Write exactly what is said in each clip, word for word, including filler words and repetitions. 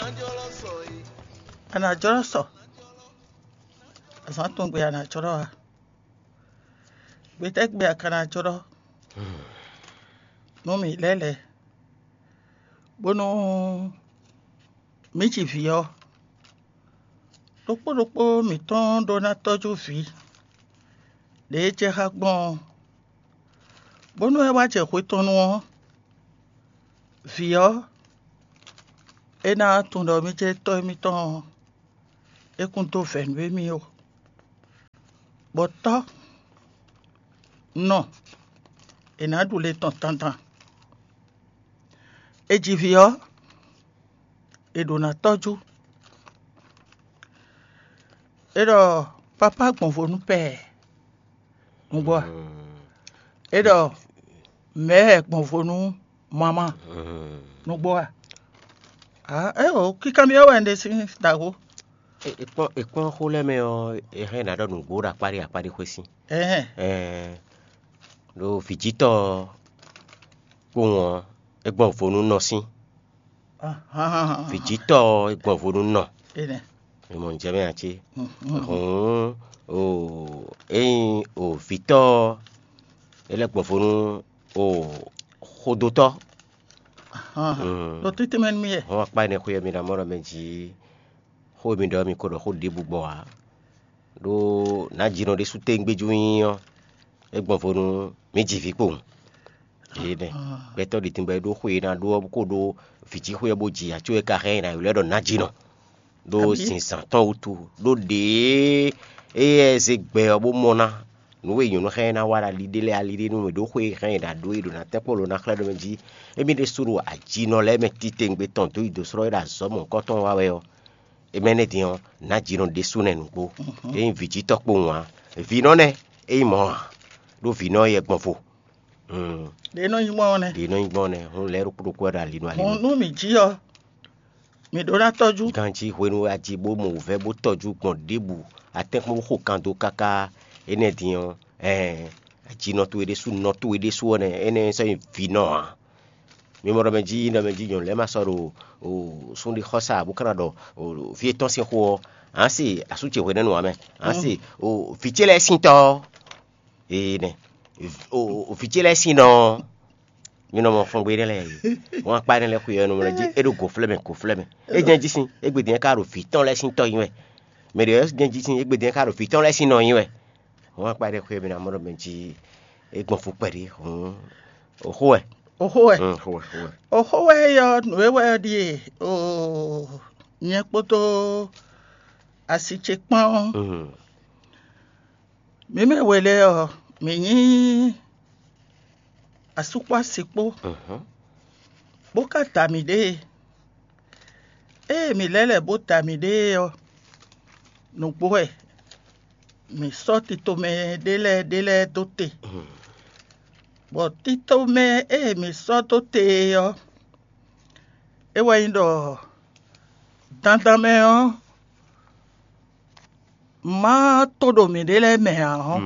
A nǎ jlɔ́ sɔ, azǎn tɔn gbe a nǎ jlɔ́ a? Gbetɛ́gbe a ka ná jlɔ́ nú mǐ lɛ́lɛ̌, bónú mǐ ji vǐ ɔ́, ɖokpó ɖokpó mǐtɔn ɖó ná tɔ́jú vǐ ɖě e jɛ xá gbɔn ɔ́, bónú é wá jɛ hwe tɔn nu ɔ́, vǐ ɔ́, é ná tunwun ɖɔ mì jɛ tɔ́ émítɔn ɔ́, é kún dó vɛ̌ nú émí ó. Bɔ tɔ́ nɔ è nǎ ɖu le tɔn dandan. È ji vǐ ɔ́, è ɖǒ ná tɔ́jú. É ɖɔ papá gbɔn vo nú pɛɛ nǔgbó a? É ɖɔ mɛ̌ gbɔn vo nú mamá nǔgbó a? Ǎ, é o, kíkanbyɔ́ wɛ un ɖe sín dǎxó. È kpɔ́n è kpɔ́n xó lɛ́ɛ mɛ ɔ́, è hɛn ná ɖɔ nǔgbó ɖo akpá ɖé akpá ɖé xwé sín. Ɛhɛn. Ɛɛ, ɖo vǐjítɔ́ ɔ́, kpowun ɔ́, é gbɔn vo nú nɔ sín. Ahan. Vǐjítɔ́ ɔ́, é gbɔn vo nú nɔ. Énɛ́. Mi mɔ nǔ jɛ mɛ ǎ cé? Hǔn o, ényí o vǐtɔ́ ɔ́, é lɛ́ gbɔn vo nú o xodótɔ́. Ahan. Ɖo títí mɛ nú mì wɛ. Hɔn akpá énɛ́ xwé ɔ́, mi ná mɔ ɖɔ mɛ jǐ xó e mi ɖɔ ɔ́, mi ko ɖɔ xó ɖěbǔ gbɔ ǎ. Ɖó nǎjínɔ ɖésú téwúngbéjú nyí ɔ́, é gbɔn vo nú mǐ ji vǐ kpowun. Énɛ́. Gbɛtɔ́ ɖi tɛngbɛ ɖó xwe e ná ɖó ɔ́, bó ko ɖó vǐ jí xwe ɔ́ bó ji ǎ, có é ka hɛn nyi nǎ ylɔ́ ɛ ɖɔ nǎjínɔ. Ɖó zinzǎn tɔn wútu, ɖó ɖěe éyɛ́ zé gbɛ ɔ́ bó mɔ ná. Nǔ e nyɔ̌nu xá ɛ ná wa ɖo ali ɖé lɛ́ɛ ali ɖé nú mǐ ɖó xwe e hɛn è nǎ ɖó é ɖo ná tɛ́nkpɔ́n lo ná xlɛ́ ɖɔmɛ jí. Émí ɖésúnɔ ajinɔ lɛ́ɛ mɛ titewungbe tɔn dó yi dǒ slɔ́ é ɖo azɔ̌ mɔ̌hunkɔtɔn wa wɛ ɔ́, é mɛ nɛ́ din ɔ́, nǎjinɔ ɖésú nɛ́ nǔgbó. É nyí vǐjítɔ́ kpowun ǎ. Vǐnɔ nɛ́ é nyí mɔ̌ ǎ, ɖó vǐnɔ ɔ́ yɛ gbɔn vo. Ɖě nɔ nyí gbɔn ɔ́ nɛ́. Ɖě nɔ nyí gbɔn nɛ́, hún lɛ́ɛ ɖokpó ɖokpó wɛ ɖo ali nú ali. Hǔn nú mǐ jí ɔ́, mǐ ɖó ná tɔ́jú. Ganjí hwenu e a ji bó mɔ wǔvɛ́ bó tɔjú gbɔn ɖěbǔ, a tɛ́nkpɔ́n bó xo kan dó káká énɛ́ din ɔ́, ɛɛn, ajinɔ towe ɖésú, nɔ towe ɖésú ɔ́ nɛ́, énɛ́ sɔ́ nyí vǐnɔ ǎ. Mi mɔ ɖɔ mɛ jí, ɖɔ mɛ jí nyɔ̌nu lɛ́ɛ ma sɔ́ ɖo súnɖí xɔ́sá bó ka ná ɖɔ fí étɔn sín xó ɔ́, ǎ se asú ce hwenɛ́nu ǎ mɛ, ǎ se vǐ ce lɛ́ɛ sín tɔ́ ɔ́. Ee nɛ, vǐ ce lɛ́ɛ sín nɔ ɔ́, mi nɔ mɔ fɔngbe énɛ́ lɛ́ɛ e. Wọ́n akpá énɛ́ lɛ́ɛ xwe ɔ́, nɔ mɔ lɛ́ jí é ɖo gǒ flɛ́ mɛ, gǒ flɛ́ mɛ. É jɛ́n jí sín, égbé din ká ɖo vǐ tɔn lɛ́ɛ sín tɔ́ nyi wɛ. Mɛ ɖě ɔ́ jɛ́n jí sín, égbé din ká ɖo vǐ tɔn lɛ́ɛ sín nɔ nyi wɛ. Wọ́n akpá énɛ́ xwe ɔ́, mi ná mɔ ɖɔ mɛ jí é gbɔn fú kpɛɖé hǔn. Oxó wɛ. Oxó wɛ. Mm, xó wɛ, xó wɛ. Oxó wɛ yɔ nǔ e wɛ ɔ́ ɖíe oo, nyɛ kpódó asi ce kpán ɔ́. Mm. Mǐ mɛ we lɛ́ɛ ɔ́, mǐ nyí asú kpó asi kpó, bó ka da mǐɖée. Ée mǐ lɛ́ lɛ̌ bó da mǐɖée ɔ́, nǔgbó wɛ mǐ sɔ́ titomɛ ɖé lɛ́ɛ ɖé lɛ́ɛ dó te, bɔ titomɛ e mǐ sɔ́ dó te é ɔ́, é wɛ nyí ɖɔ dandan mɛ ɔ́, má tó ɖo mǐɖée lɛ́ɛ mɛ ǎ ɔ́,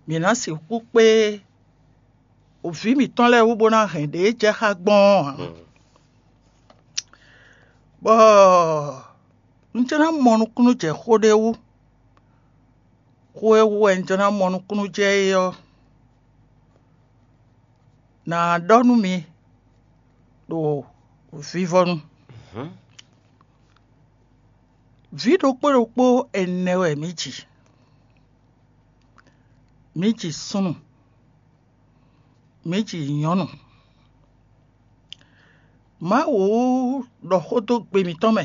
mǐ ná sixú kpé vǐ mǐtɔn lɛ́ɛ wú bó ná hɛn ɖě jɛ xá gbɔn ɔ́ ǎ. Bɔ un jló ná mɔ nukúnnú jɛ xó ɖé wú. Xó e wú wɛ un jló ná mɔ nukúnnú jɛ é ɔ́, nǎ ɖɔ nú mi ɖo vivɔnu. Vǐ ɖokpó ɖokpó ɛnɛ wɛ mǐ ji. Mǐ ji súnnu, mǐ ji nyɔ̌nu. Mawu ɖɔ xó dó gbe mǐtɔn mɛ,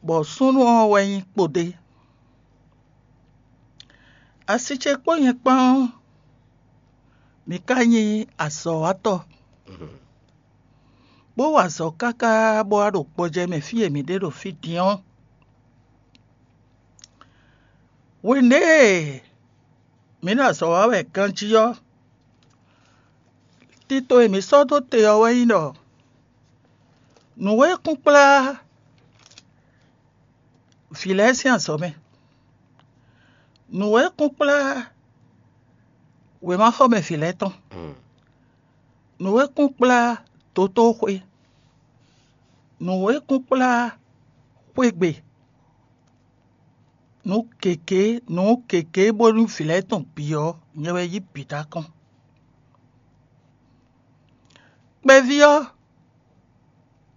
bɔ súnnu ɔ́ wɛ nyí kpodé. Asi ce kpó nyɛ kpán ɔ́, mǐ ka nyí azɔ̌watɔ́, bó wa azɔ̌ káká bó wá ɖo gbɔjɛ́ mɛ fí e mǐ ɖe ɖo fí din ɔ́. Hwenu e mǐ ɖo azɔ̌ wa wɛ ganjí ɔ́, tito e mǐ sɔ́ dó te ɔ́ wɛ nyí ɖɔ nǔ e kún kplá vǐ lɛ́ɛ sín azɔ̌ mɛ, nǔ e kún kplá wěmaxɔmɛ vǐ lɛ́ɛ tɔn, nǔ e kún kplá dotóxwé, Nǔ e kún kplá xwé gbe nǔ gěgé nǔ gěgé bónú vǐ lɛ́ɛ tɔn bǐ ɔ́, nyɛ wɛ yí bǐ dó akɔ́n. Kpɛví ɔ́,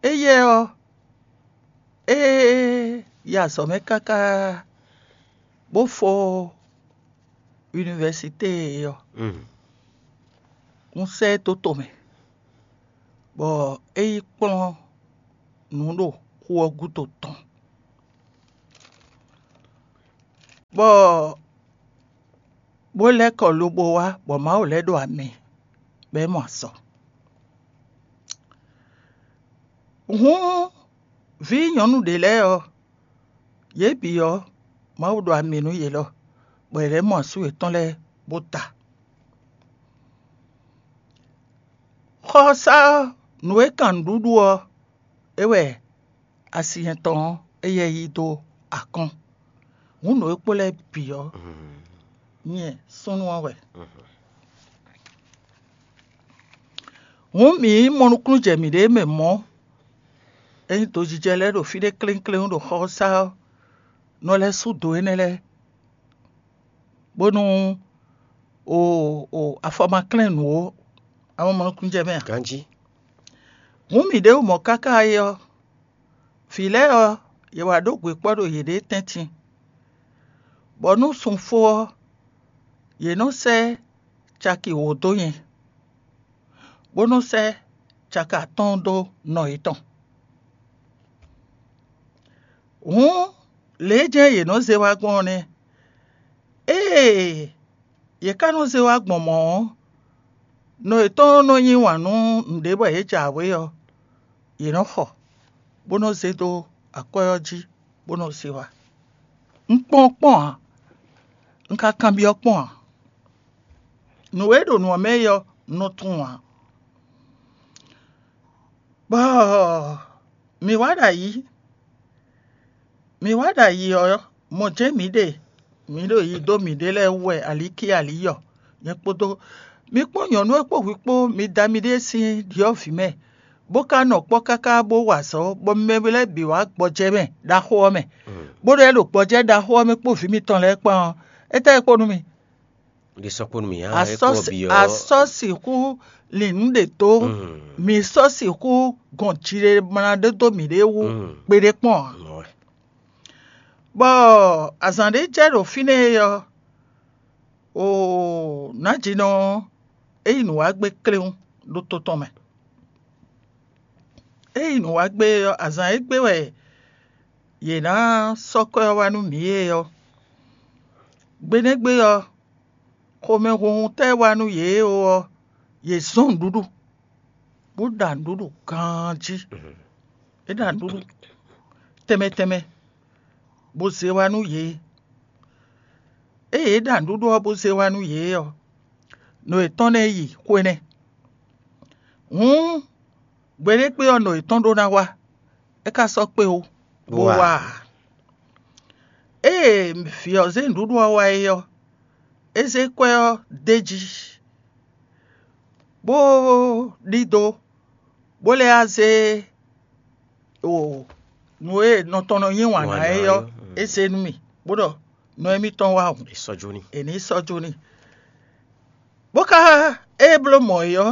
éyɛ́ ɔ́, é yi azɔ̌ mɛ káká bó fó univɛsité ɔ́, un sɛ́ ɛ dó tomɛ, bɔ é yi kplɔ́n nǔ ɖo xu ɔ́ gúdo tɔn, bɔ bó lɛ́ kɔ lobo wá, bɔ Mawu lɛ́ ɖo ami, bɔ é mɔ azɔ̌. Hǔn vǐ nyɔ̌nu ɖě lɛ́ɛ ɔ́, yě bǐ ɔ́, Mawu ɖo ami nú yě lɔ, bɔ yě lɛ́ mɔ asú yětɔn lɛ́ɛ bó ta. Xɔsá ɔ́, nǔ e kan nǔɖuɖu ɔ́, é wɛ asi nyɛtɔn ɔ́, éyɛ́ yí dó akɔ́n. Hǔn nǔ e kpo lɛ́ɛ bǐ ɔ́, nyɛ súnnu ɔ́ wɛ. Hǔn mǐ yi mɔ nukúnnú jɛ mǐɖée mɛ mɔ̌. Ényí dojijɛ lɛ́ɛ ɖo fí ɖé kléŋkléŋ ɖo xɔsá ɔ́, nɔ lɛ́ sú do énɛ́ lɛ́ɛ, bónú o o afɔ ma klɛ́n nǔ ó. A mɔ mɔ nukúnnú jɛ mɛ a? Ganjí. Hǔn mǐ ɖěbǔ mɔ káká é ɔ́, vǐ lɛ́ɛ ɔ́, yě wá ɖó gbe kpɔ́ ɖo yěɖée tɛ́ntin, bɔ nú sun fó ɔ́, yě nɔ sɛ́ caki wǒ dó nyɛ, bó nɔ sɛ́ caki atɔ́ɔ́n dó nɔ yětɔn. Hǔn, lě e jɛ́n yě nɔ zé wá gbɔn ɔ́ nɛ́. Ée yě ká nɔ zé wá gbɔn mɔ̌ ɔ́, nɔ yětɔn nɔ yí wǎn nú nǔɖé bɔ yě jǎwe ɔ́, yě nɔ xɔ, bó nɔ zé dó akwɛ́ ɔ́ jí, bó nɔ zé wá. Un kpɔ́n kpɔ́n ǎ; un ka kanbyɔ́ kpɔ́n ǎ. Nǔ e ɖo nǔ ɔ́ mɛ é ɔ́, un nɔ tunwun ǎ. Bɔ mǐ wá ɖo ayǐ. Mǐ wá ɖo ayǐ ɔ́, mɔ̌ jɛ́n mǐ ɖe; mǐ ɖo yi dó mǐɖée lɛ́ɛ wú wɛ alíkí alíyɔ, nyɛ kpódó mi kpó nyɔ̌nu e kpó hwi kpó, mi da miɖée sín ɖyɔ̌vǐ mɛ, bó ka nɔ kpɔ́ káká bó wa azɔ̌, bɔ mɛ lɛ́ɛ bǐ wá gbɔjɛ́ mɛ ɖaxó ɔ́ mɛ, bó ɖɔ é ɖo gbɔjɛ́ ɖaxó ɔ́ mɛ kpó vǐ mitɔn lɛ́ɛ kpán ɔ́, étɛ́ e kpo nú mi? Ɖe sɔ́ kpo nú mì, a é kpo ɔ́ bǐ ɔ́. Asɔ́ sixú lin nǔ ɖě dó, mǐ sɔ́ sixú gɔn jiɖe mla ɖé dó mǐɖée wú gbeɖé kpɔ́n ǎ. Bɔ azǎn ɖé jɛ ɖo fínɛ́ é ɔ́, oo, nǎjinɔ ɔ́, é yi nǔ wá gbé kléwún ɖo to tɔn mɛ. É yi nǔ wá gbé ɔ́, azǎn e gbé wɛ yě ná sɔ́ kwɛ́ ɔ́ wá nú mǐ é ɔ́, gbe nɛ́ gbe ɔ́, xomɛhunhun tɛ́ wá nú yě ó ɔ́, yě zɔ́n nǔɖuɖu, bó ɖa nǔɖuɖu ganjí. É ɖa nǔɖuɖu tɛnmɛ tɛnmɛ, bó zé wá nú yě. Ée yě ɖa nǔɖuɖu ɔ́ bó zé wá nú yě ɔ́, nɔ yětɔn nɛ́ yi xwé nɛ́. Hǔn gbeɖékpé ɔ́, nɔ yětɔn ɖó ná wá; é ka sɔ́ kpé ó, bó wá ǎ. Ée vǐ ɔ́ zé nǔɖuɖu ɔ́ wá é ɔ́, é zé kwɛ́ ɔ́ d'é jí, bó ɖidó, bó lɛ́ wá zé o nǔ e nɔ tɔn nɔ yí wǎn ná é ɔ́, é zé nú mì, bó ɖɔ nɔ émítɔn wá hǔn, è nǐ sɔ́ jó n'i. Bó ka ée bló mɔ̌ é ɔ́,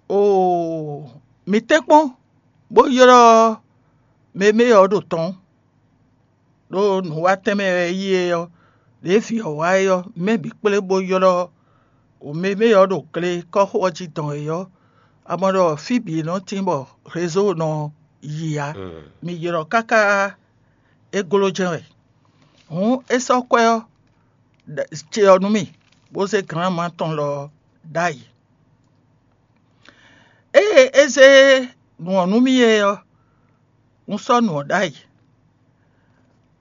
oo, mi tɛ́nkpɔ́n bó ylɔ́ mɛ e mɛ ɔ́ ɖo tɔn, ɖó nǔwatɛn mɛ wɛ é yí é ɔ́, ɖěe vǐ ɔ́ wá é ɔ́, mɛ bǐ kplé bó ylɔ́ mɛ e mɛ ɔ́ ɖo gle kɔ́xo ɔ́ jí dɔn é ɔ́, a mɔ ɖɔ fí bǐ nɔ tín bɔ rézo nɔ yi ǎ. Mi ylɔ́ káká é gló jɛ́n wɛ. Hǔn é sɔ́ kwɛ́ ɔ́ ce ɔ́ nú mì, bó zé glǎnma tɔn lɔ ɔ́ ɖ'ayǐ. Ée é zé nǔ ɔ́ nú mì é ɔ́, un sɔ́ nǔ ɔ́ ɖ'ayǐ.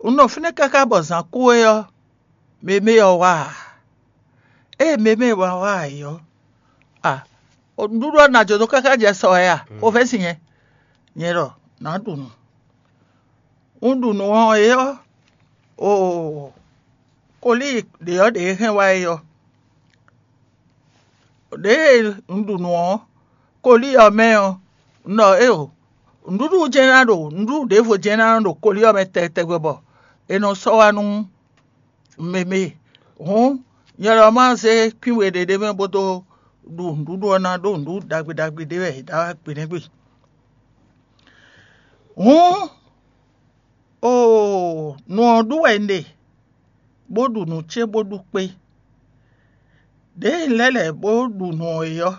Un nɔ fínɛ́ káká bɔ zǎn kú é ɔ́, mɛ e mɛ ɔ́ wá ǎ. Ée mɛ e mɛ wá wá ǎ é ɔ́, a nǔɖuɖu ɔ́ ná jó dó káká jɛ sɔ wɛ a? Xovɛ́sin nyɛ, nyɛ ɖɔ nǎ ɖu nǔ. Un ɖu nǔ ɔ́ é ɔ́, oo, kolíi ɖě ɔ́ ɖě e hɛn wá é ɔ́, ɖěe un ɖu nǔ ɔ́, kolíi ɔ́ mɛ ɔ́, Un ɖɔ éeǒ, nǔɖuɖu jɛ́n ná ɖo nǔɖuɖu ɖěvo jɛ́n ná nɔ ɖo kolí ɔ́ mɛ tɛgbɛ bɔ è nɔ sɔ́ wá nú mɛ mɛ. Hǔn nyɛ lɔ ma zé kwín we ɖé ɖ'é mɛ bó dó ɖu nǔɖuɖu ɔ́ ná ɖó nǔɖuɖu ɖagbe ɖagbe ɖé wɛ è ɖa wá gbe nɛ́ gbe. Hǔn oo, nǔ ɔ́ ɖu wɛ un ɖe, bó ɖu nǔ ce bó ɖu kpé. Đěe un lɛ́ lɛ̌ bó ɖu nǔ ɔ́ é ɔ́,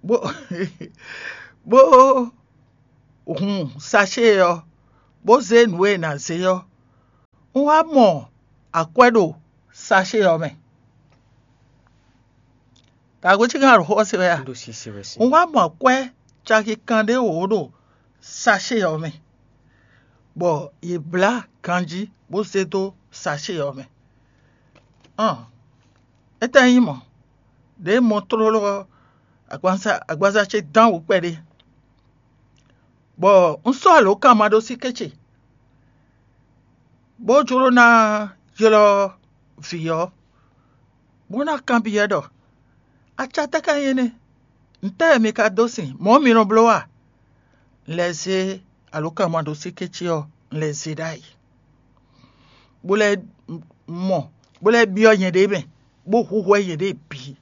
bó bó hun sacée ɔ́, bó zé nǔ e è nǎ zé ɔ́, un wá mɔ akwɛ́ ɖo sacée ɔ́ mɛ. Ka gosín kan ɖo xó ɔ́ se wɛ a? Un wá mɔ akwɛ́ caki kanɖé wǒ ɖo sacée ɔ́ mɛ, bɔ yě blá ganjí bó zé dó sacée ɔ́ mɛ. Ɔn, étɛ́ nyí mɔ̌? Đěe mɔ tlóló ɔ́, agbaza ce dán wǔ kpɛɖé, bɔ un sɔ́ alǒkanmaɖósíké ce, bó jló ná ylɔ́ vǐ ɔ́, bó ná kanbyɔ́ ɖɔ: Aca tɛ́ ka nyí énɛ́? Ntɛ́ɛ mi ka dó sin? Mɔ̌ mi nɔ bló a? Un lɛ́ zé alǒkanmaɖósíké ce ɔ́, un lɛ́ zé ɖ'ayǐ, bó lɛ́ mɔ, bó lɛ́ byɔ́ nyɛɖée mɛ, bó húhwɛ́ nyɛɖée bǐ,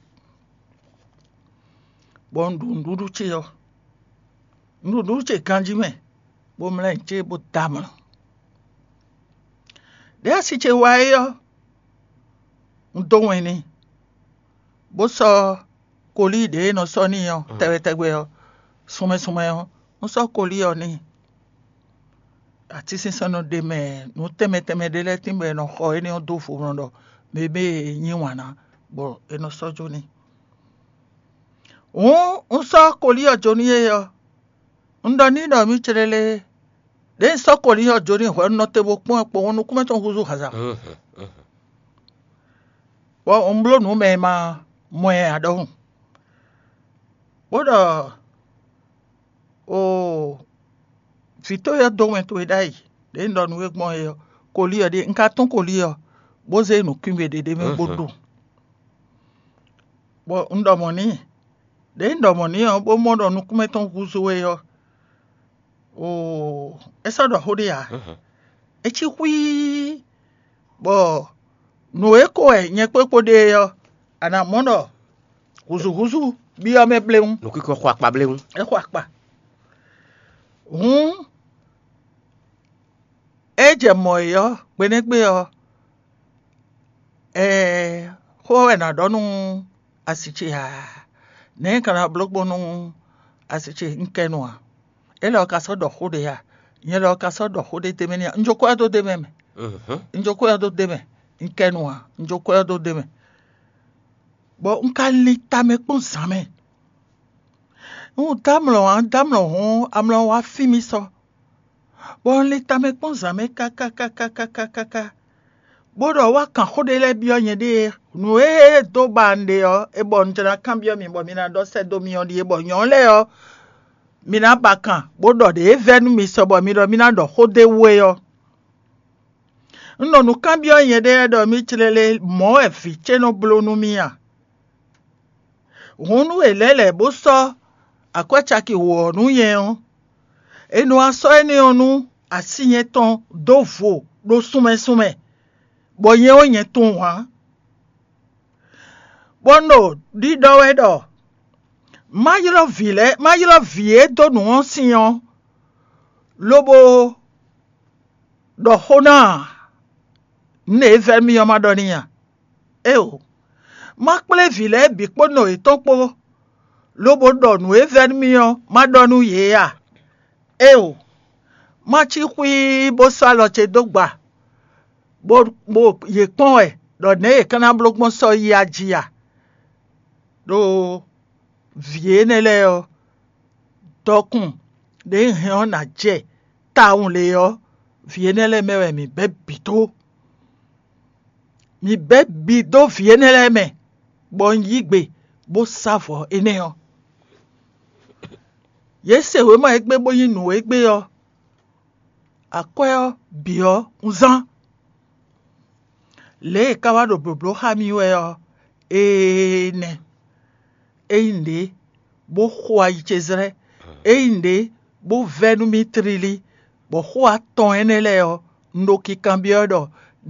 bɔ un ɖu nǔɖuɖu ce ɔ́, un ɖu nǔɖuɖu ce ganjí mɛ, bó mlɛ́ nyi cé bó dɔ́ amlɔ. Ɖěe asi ce wá é ɔ́, un dó wɛn n'i, bó sɔ́ kolíi ɖě e nɔ sɔ́ n'i ɔ́ tɛgbɛ tɛgbɛ ɔ́, sunmɛ sunmɛ ɔ́, un sɔ́ kolíi ɔ́ n'i. Atínsínsɛ́n nɔ ɖ'é mɛ, nǔ tɛnmɛ tɛnmɛ ɖé lɛ́ɛ tín bɔ è nɔ xɔ énɛ́ ɔ́ dó vo nɔ ɖɔ mɛ e nyí wǎn ná, bɔ è nɔ sɔ́ jó n'i. Hǔn un sɔ́ kolíi ɔ́ jó n'i é ɔ́, un ɖɔ n'i ɖɔ mǐ céɖélé, ɖěe un sɔ́ kolíi ɔ́ jó n'i hwɛ̌ un nɔ te bó kpɔ́n ɛ kpowun nukúnmɛ tɔn húzú haza. Bɔ un bló nǔ mɛ e ma mɔ ɛ ǎ ɖɔhun, bó ɖɔ: Oo, vǐ towe ɔ́ dó wɛn towe ɖ'ayǐ, ɖě un ɖɔ nú we gbɔn é ɔ́, kolí ɔ́ ɖíe. Un ka tún kolí ɔ́, bó zé nǔkwín we ɖé ɖ'é mɛ bó ɖu, bɔ un ɖɔ mɔ̌ n'i. Ɖěe un ɖɔ mɔ̌ n'i ɔ́, bó mɔ ɖɔ nukúnmɛ tɔn húzú we ɔ́, oo, é sɔ́ ɖɔ xó ɖé ǎ. É cí xwíí, bɔ nǔ e ko wɛ nyɛ kpó kpó ɖe é ɔ́, a nǎ mɔ ɖɔ hǔzúhúzú byɔ́ mɛ bléwún. Nǔkíkɔ xɔ akpa bléwún. É xɔ akpa. Hǔn é jɛ mɔ̌ é ɔ́, gbenɛ́gbe ɔ́, ɛɛ, xó wɛ è nǎ ɖɔ nú asi ce ǎ. Nɛ̌ un ka ná bló gbɔn nú asi ce? Un kɛ nu ǎ. Élɔ́ ka sɔ́ ɖɔ xó ɖé a? Nyɛ lɔ ka sɔ́ ɖɔ xó ɖé d'é mɛ n'i a? Un jó kwɛ́ ɔ́ dó d'é mɛ mɛ. Un jó kwɛ́ ɔ́ dó d'é mɛ. Un kɛ nu ǎ. Un jó kwɛ́ ɔ́ dó d'é mɛ. Bɔ un ka lin tamɛ kpɔ́n zǎn mɛ. Un dó amlɔ ǎ, un dó amlɔ hɔn, amlɔ wá fí mì sɔ, bɔ un lin tamɛ kpɔ́n zǎn mɛ káká káká káká káká, bó ɖɔ wá kan xó ɖé lɛ́ɛ byɔ́ nyɛɖée. Nǔ e dó ba un ɖe ɔ́, é bɔ un jlá kanbyɔ́ mi bɔ mi ná ɖɔ sɛ́ dó mì ɔ́ ɖíe, bɔ nyɔ̌ lɛ́ɛ ɔ́, mi ná ba kan, bó ɖɔ ɖě vɛ́ nú mi sɔ bɔ mi ɖɔ mì ná ɖɔ xó d'é wú é ɔ́. Un ɖo nǔ kanbyɔ́ nyɛɖée ɖɔ mì clélé mɔ̌ wɛ vǐ ce nɔ bló nú mì a? Hǔn nú è lɛ́ lɛ̌ bó sɔ́ akwɛ́ caki wǒ ɔ́ nú nyɛ ɔ́, è nɔ wá sɔ́ énɛ́ ɔ́ nú así nyɛ́tɔn dó vo ɖo sunmɛ sunmɛ, bɔ nyɛ ɔ́ nyɛ tunwun ǎ. Bɔ un ɖo ɖiɖɔ wɛ ɖɔ má ylɔ́ vǐ lɛ́ɛ, má ylɔ́ vǐ e dó nǔ ɔ́ sin ɔ́, lobo ɖɔ xó ná ǎ. Nǔ e vɛ́ mì ɔ́ ma ɖɔ n'i a? Éeǒ, má kplé vǐ lɛ́ɛ bǐ kpó nɔ yětɔn kpó, lobo ɖɔ nǔ e vɛ́ nú mì ɔ́ ma ɖɔ nú yě a? Éeǒ, má cí xwíí bó sɔ́ alɔ ce dó gba, bó bó yě kpɔ́n wɛ ɖɔ nɛ̌ yě ka ná bló gbɔn sɔ́ yi a jí a? Ɖó vǐ énɛ́ lɛ́ɛ ɔ́, dɔkun ɖě un hɛn ɔ́ ná jɛ tawun lě ɔ́, vǐ énɛ́ lɛ́ɛ mɛ wɛ mǐ bɛ́ bǐ dó. Mǐ bɛ́ bǐ dó vǐ énɛ́ lɛ́ɛ mɛ, bɔ un yí gbe bó sá vɔ̌ énɛ́ ɔ́. Yě se wěma e gbé bó nyí nǔ e gbé ɔ́, akwɛ́ ɔ́ bǐ ɔ́ un zán. Lě e è ka wá ɖo blǒbló xá mì wɛ ɔ́, ee nɛ́. É nyí nǔɖé bó xo ayi ce zlɛ́, é nyí nǔɖé bó vɛ́ nú mì tlílí, bɔ xó atɔn énɛ́ lɛ́ɛ ɔ́, un ɖo kinkanbyɔ́ ɖɔ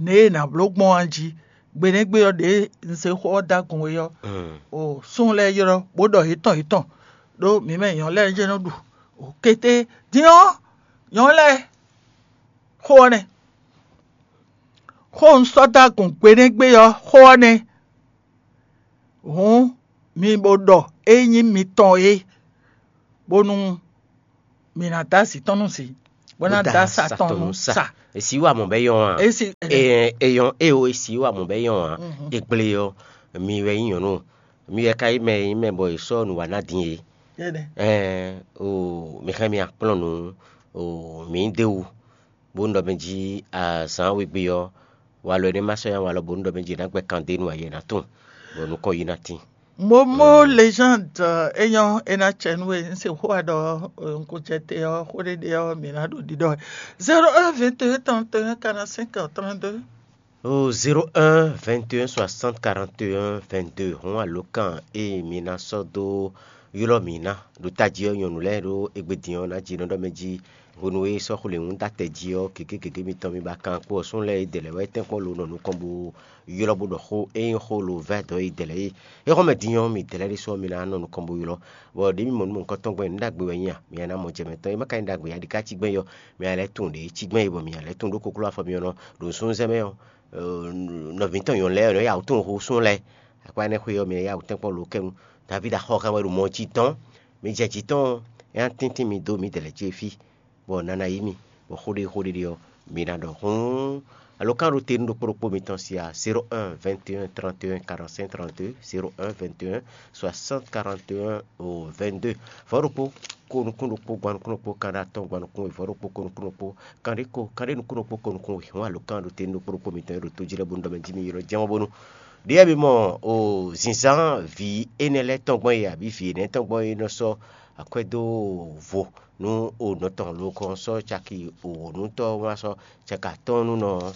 nɛ̌ e è nǎ bló gbɔn a jí. Gbe nɛ́ gbe ɔ́, ɖěe un se xó ɔ́ dó agun é ɔ́, o súnnu lɛ́ɛ ylɔ́ bó ɖɔ yětɔn yětɔn, ɖó mǐ mɛ nyɔ̌nu lɛ́ɛ jɛ́n nɔ ɖu. O kété din ɔ́, nyɔ̌nu lɛ́ɛ, xó ɔ́ nɛ́. Xó un sɔ́ dó agun gbe nɛ́ gbe ɔ́, xó ɔ́ nɛ́. Hǔn mi bo ɖɔ é nyí mitɔn é, bónú mi ná dó asi tɔn nú si, bó ná dó asa tɔn nú sa. Èsì wà mɔ̌ bɛ́ yɔn a? Èsì Èyɔn eo èsì wà mɔ̌ bɛ́ yɔn a? Ègblé ɔ́, mi wɛ nyí nyɔ̌nu, mi wɛ ka nyí mɛ e nyí mɛ bɔ è sɔ́ nǔ wa ná din é. Ɛɛ o mi xá mi akplɔ́n nǔ o mǐ ɖ'é wú, bó un ɖɔ mɛ jí azǎn wegbe ɔ́, walɔ énɛ́ ma sɔ́ nyí walɔ bónú ɖɔ mɛ jí è nǎ gbɛ́ kan dó e nu ayɛ ná tun, bɔ nukɔn yi ná tín. Momo légende, é nyɔ́ é ná cɛ nú we, un se xó wa ɖɔ un ko jɛ te ɔ́, xó ɖé ɖé ɔ́, mǐ ná ɖo ɖiɖɔ wɛ. Zéro un vingt et un trente et un quarante-cinq trente-deux. O zéro un vingt et un soixante quarante et un vingt-deux hɔn alǒkan e mi ná sɔ́ dó ylɔ́ mǐ ná ɖo tají ɔ́, nyɔ̌nu lɛ́ɛ ɖó égbé din ɔ́ ná jí nɔ ɖɔ mɛ jí hwenu e sɔ́ xwlěwún dó atɛ jí ɔ́, gěgé gěgé mitɔn mi ba kan kpo ɔ́, súnnu lɛ́ɛ e dɛ lɛ́ɛ wɛ tɛ́nkpɔ́n lo nɔ nukɔn bó ylɔ́ bó ɖɔ xó e nyí xó lo vɛ́ dɔ̌ e dɛ lɛ́ɛ é. É xɔ́n mɛ din ɔ́, mi dɛ lɛ́ɛ ɖésú ɔ́, mi ná nɔ nukɔn bó ylɔ́, bɔ ɖěe mi mɔ nú mɔ̌hunkɔtɔn gbɛn nǔ ɖagbe wɛ nyí a? Mi ná mɔ jɛ mɛ tɔn e ma ka nyí ɖagbe ǎ, ɖi ká cí gbɛn yɔ, mi ná lɛ́ tunwun ɖě cí gbɛn yi bɔ mi ná lɛ́ tunwun ɖó kokló afɔ mi ɔ́ nɔ ɖo súnnu zɛ mɛ ɔ́, nɔvǐ tɔn nyɔ̌nu lɛ́ɛ ɔ́, nɔ́ ya wǔ tunwun xó súnnu lɛ́ɛ. Akpa énɛ́ xwe ɔ́, mi ná ya wǔ tɛ́nkpɔ́n lo kɛ́nu. Davídi axɔ́kan wɛ ɖo mɔ jí tɔn. Mi jɛ jǐ tɔn, é ná tíntín mi dó mǐdɛɛ lɛ́ɛ ce fí, bɔ nana yí mi, bɔ xó ɖé xó ɖé ɖé ɔ́, mi ná ɖɔ hǔn. Alǒkan ɖo te nú ɖokpó ɖokpó mitɔn sia zéro un vingt et un trente et un quarante-cinq trente-deux, zéro un vingt et un soixante quarante et un vingt-deux. Vɔ̌ ɖokpó ko nukún ɖokpó gban nukún ɖokpó kanɖé atɔ́ɔ́n gban nukún we, vɔ̌ ɖokpó ko nukún ɖokpó kanɖé ko kanɖé nukún ɖokpó ko nukún we. Hǔn alǒkan ɖo te nú ɖokpó ɖokpó mitɔn e ɖo tó jí lɛ́ɛ bónú ɖɔ mɛ jí mi ylɔ́ jɛ́n ɔ́ bónú. Ɖěe mi mɔ o zǐnzán vǐ énɛ́ lɛ́ɛ tɔn gbɔn e abǐ vǐ énɛ́ tɔn gbɔn e nɔ sɔ́ akwɛ́ dó vo nú o nɔ tɔn lo kɔn sɔ́ caki wǒnútɔ́ wá sɔ́ caki atɔ́ɔ́n nú nɔ ɔ́,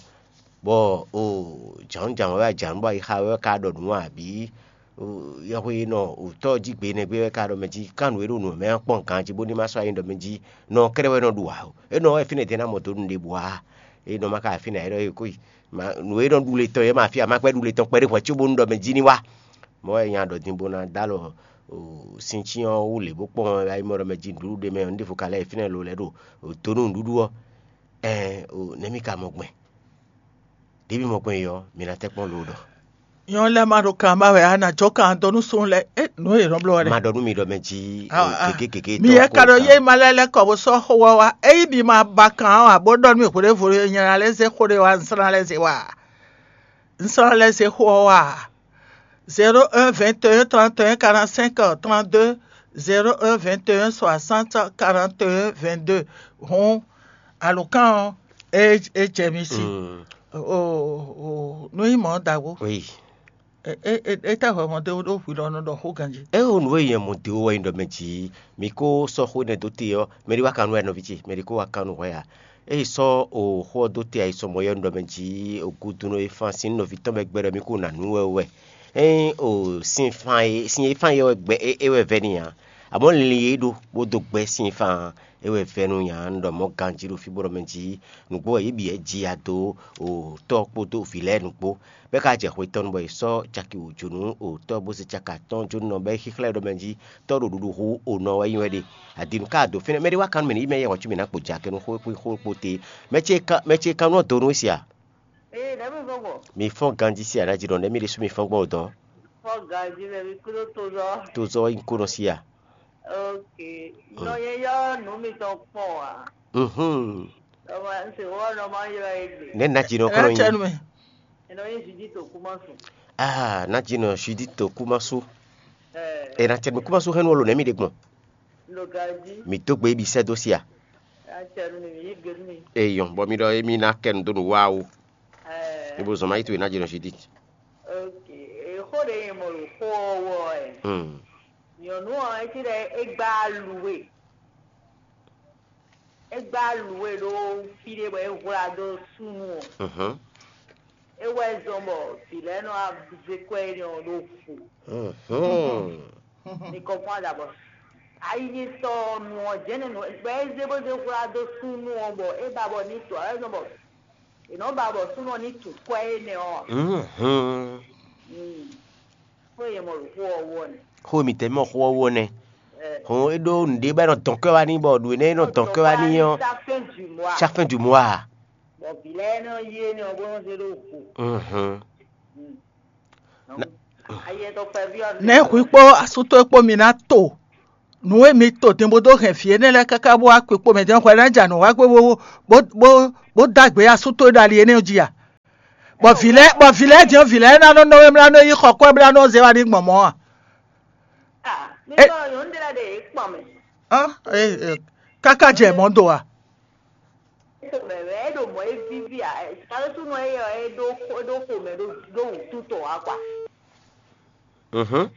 bɔ o jǎnjǎn wɛ wá jǎn bɔ ayixa wɛ ka ɖɔ nǔ abǐ yɛhwe e nɔ wǔtɔ́ jí gbe nɛgbé wɛ ka ɖɔ mɛ jí ká nǔ e ɖo nǔ mɛ ɔ́ kpɔ́n ganjí bónú é má sɔ́ ayi ɖɔ mɛ jí nɔ kɛ́ɖɛ́ wɛ nɔ ɖu ǎ o. É nɔ wɛ fínɛ́ dɛ́ ná mɔ dó nǔɖé bǔ ǎ. É nɔ má ka fínɛ́ ǎ é ɖɔ é kó yi. Nǔ e nɔ ɖu le tɔn é ma fí a ma gbɛ́ ɖu le tɔn kpɛɖé hwɛ̌ có bónú ɖɔ mɛ jí ní wá. Mɔ̌ wɛ nya ɖɔ din bó ná dó alɔ sincyɔ́n ɔ́ wú lě bó kpɔ́n wɛ ayimɔ ɖɔ mɛ jí nǔɖuɖu ɖé mɛ ɔ́, nǔɖévo ka lɛ́ yi fínɛ́ lo lɛ́ ɖo dó nú nǔɖuɖu ɔ́. Ɛɛn, nɛ̌ mì ka mɔ gbɛn? Ɖěbǔ mɔ gbɛn ɔ́, mi ná tɛ́ kpɔ́n lǒ ɖɔ. Nyɔ̌nu lɛ́ɛ ma ɖo kan ba wɛ ǎ, nǎ jɔ kan dó nú súnnu lɛ́ɛ. É, nǔ e yě nɔ bló wɛ ɖe. Ma ɖɔ nú mi ɖɔ mɛ jí gěgé gěgé. Mi yɛ ka ɖo yé ma lɛ́ lɛ́ kɔ bó sɔ́ xó wá wá. Ényí mi ma ba kan ɔ́ ǎ, bó ɖɔ nú mì hwěɖěvo e nyɛ ná lɛ́ zé xó ɖé wá, un sɔ́ ná lɛ́ zé wá. Un sɔ́ ná lɛ́ zé xó ɔ́ wá. Zéro un vingt et un trente et un quarante-cinq trente-deux, zéro un vingt et un soixante quarante et un vingt-deux. Hǔn alǒkan ɔ́, é é jɛ mi sí. Mm. O o nú nyí mɔ̌ ɖaxó. Oui. É é é é tá hwɛ mɔ dó ɖó hwi lɔ nɔ ɖɔ xó ganjí. É o nǔ e nyɛ mɔ dó wɛ nyí ɖɔ mɛ jí mi kó sɔ́ xó énɛ́ dó te ɔ́, mɛ ɖé wá kan nú wɛ nɔví ce, mɛ ɖé kó wá kan nú hwɛ ǎ. Ée sɔ́ o xó ɔ́ dó te ayisɔmɔ yɛ́ nú ɖɔ mɛ jí o gúdúnú e fán sín nɔví tɔn bɛ gbɛ ɖɔ mì kó ná nǔ wɛ wɛ. Ényí o sin fan e sin e fán yɛ wɛ gbɛ é é wɛ vɛ́ n'i ǎ. Amɔ̌ linlin e é ɖó bó dó gbɛ́ sin fan ɔ́, é wɛ vɛ́ nú nya un ɖɔ mɔ̌ ganjí ɖo fí bó ɖɔ mɛ jí nǔgbó wɛ yě bǐ wɛ ji ya dó o tɔ́ kpódó vǐ lɛ́ɛ nǔgbó. Bɔ é ka jɛ xwe tɔn nu bɔ è sɔ́ caki wǒ jó nú o tɔ́ bó zé caki atɔ́ɔ́n jó nú nɔ bɔ é xíxlɛ́ ɖɔ mɛ jí tɔ́ ɖo ɖuɖu hú o nɔ wɛ nyí wɛ ɖe. Adinu ka do fínɛ́ mɛ ɖé wá kan nú mì ní yí mɛ yɛ hɔn cí mì ná kpo jǎ kɛ nú xó kpó xó kpó te. Mɛ ce kan mɛ ce kan nú ɔ́ do nú we sia? Ee, ɖɛ̌ mi fɔ́n gbɔn? Mi fɔ́n ganjí sia ná jí ɖɔ nɛ̌ mi ɖésú mi fɔ́n gbɔn o dɔn? Fɔ́n ganjí mɛ mi kúrò tó zɔ. Tó zɔ nyí kó nɔ sia. Ok. Nɔ nyɛ yɔ nǔ mitɔn kpɔn a? Mhm. Nɔ ma se wɔ nɔ ma ylɔ ye gbe. Nɛ̌ ná jí nɔ kɔnɔ Ɛlɛ cɛ nu nyí? Mɛ. Enɔ ye Judith Okumasu. Ah, ná jí nɔ Judith Okumasu. Ɛ, Ena tɛ mi Kumasu hɛn wolo nɛ mi ɖe gbɔn. Lo ganjí. Mi dó gbe bi sɛ dó sia. Ná cɛ nu mi mi yí gbe nu mi. Eyɔn, bɔ mi ɖɔ emi ná kɛ nu dó nu wa o. Ɛ, Ebo zɔn ma yi to ena jí nɔ Judith. Ok. Exó ɖe nyɛ mɔ lo xó ɔ́ wɔ ɛ. Hmm. Nyɔ̌nu ɔ́, é cí ɖɔ é gbá alu we. É gbá alu we ɖó fí ɖé bɔ é hwlá dó súnnu ɔ́. Mhm. É wɛ zɔn bɔ vǐ lɛ́ɛ nɔ wá zé kwɛ́ énɛ́ ɔ́ ɖó vo. Mhm. Mi kɔnpɔ́n adabɔ. Ayi sɔ nɔ jɛnɛ nɔ bɔ e zé bó zé hwlá dó súnnu ɔ́ bɔ é ba bɔ ní tɔ ɛ nɔ bɔ è nɔ ba bɔ súnnu ɔ́ ní tu kwɛ énɛ́ ɔ́. Mhm. Xó e mɔ ɖo xó ɔ́ wú ɔ́ nɛ. Xó e mǐtɛn mɔ xó ɔ́ wú ɔ́ nɛ. Hɔn é ɖó nǔɖé bɔ é nɔ dɔn kɔ́ wá n'i bɔ nǔ énɛ́ é nɔ dɔn kɔ́ wá n'i ɔ́, Chaque fin du mois. Chaque fin du mois. Bɔ vǐ lɛ́ɛ nɔ yí énɛ́ ɔ́ bó nɔ zé ɖó vo. Mhm. Nɛ̌ hwi kpó asú towe kpó mi ná to nǔ e mi to din bó dó hɛn vǐ énɛ́ lɛ́ɛ káká bó wá kpikpo mɛ din ɔ́, hwɛ ná ja nǔ wá gbé bó bó bó bó dó agbe asú towe ɖo ali énɛ́ ɔ́ jí a? Bɔ vǐ lɛ́ɛ bɔ vǐ lɛ́ɛ din ɔ́, vǐ lɛ́ɛ ná nɔ nɔ wé mlá nɔ yí xɔ kwɛ́ mlá nɔ zé wá ní gbɔn mɔ̌ a? Ah, mi É- sɔ nyɔ̌nu ɖé lɛ́ɛ ɖe yě kpɔn mɛ. Ɔ́, é- é- káká jɛ mɔ̌ do a? Mɛ mɛ é ɖo mɔ̌ é víví a? Kalósúnɔ é ɔ́ é ɖó é ɖó xomɛ ɖó ɖó wǔtú tɔn wá kpa. Mhm.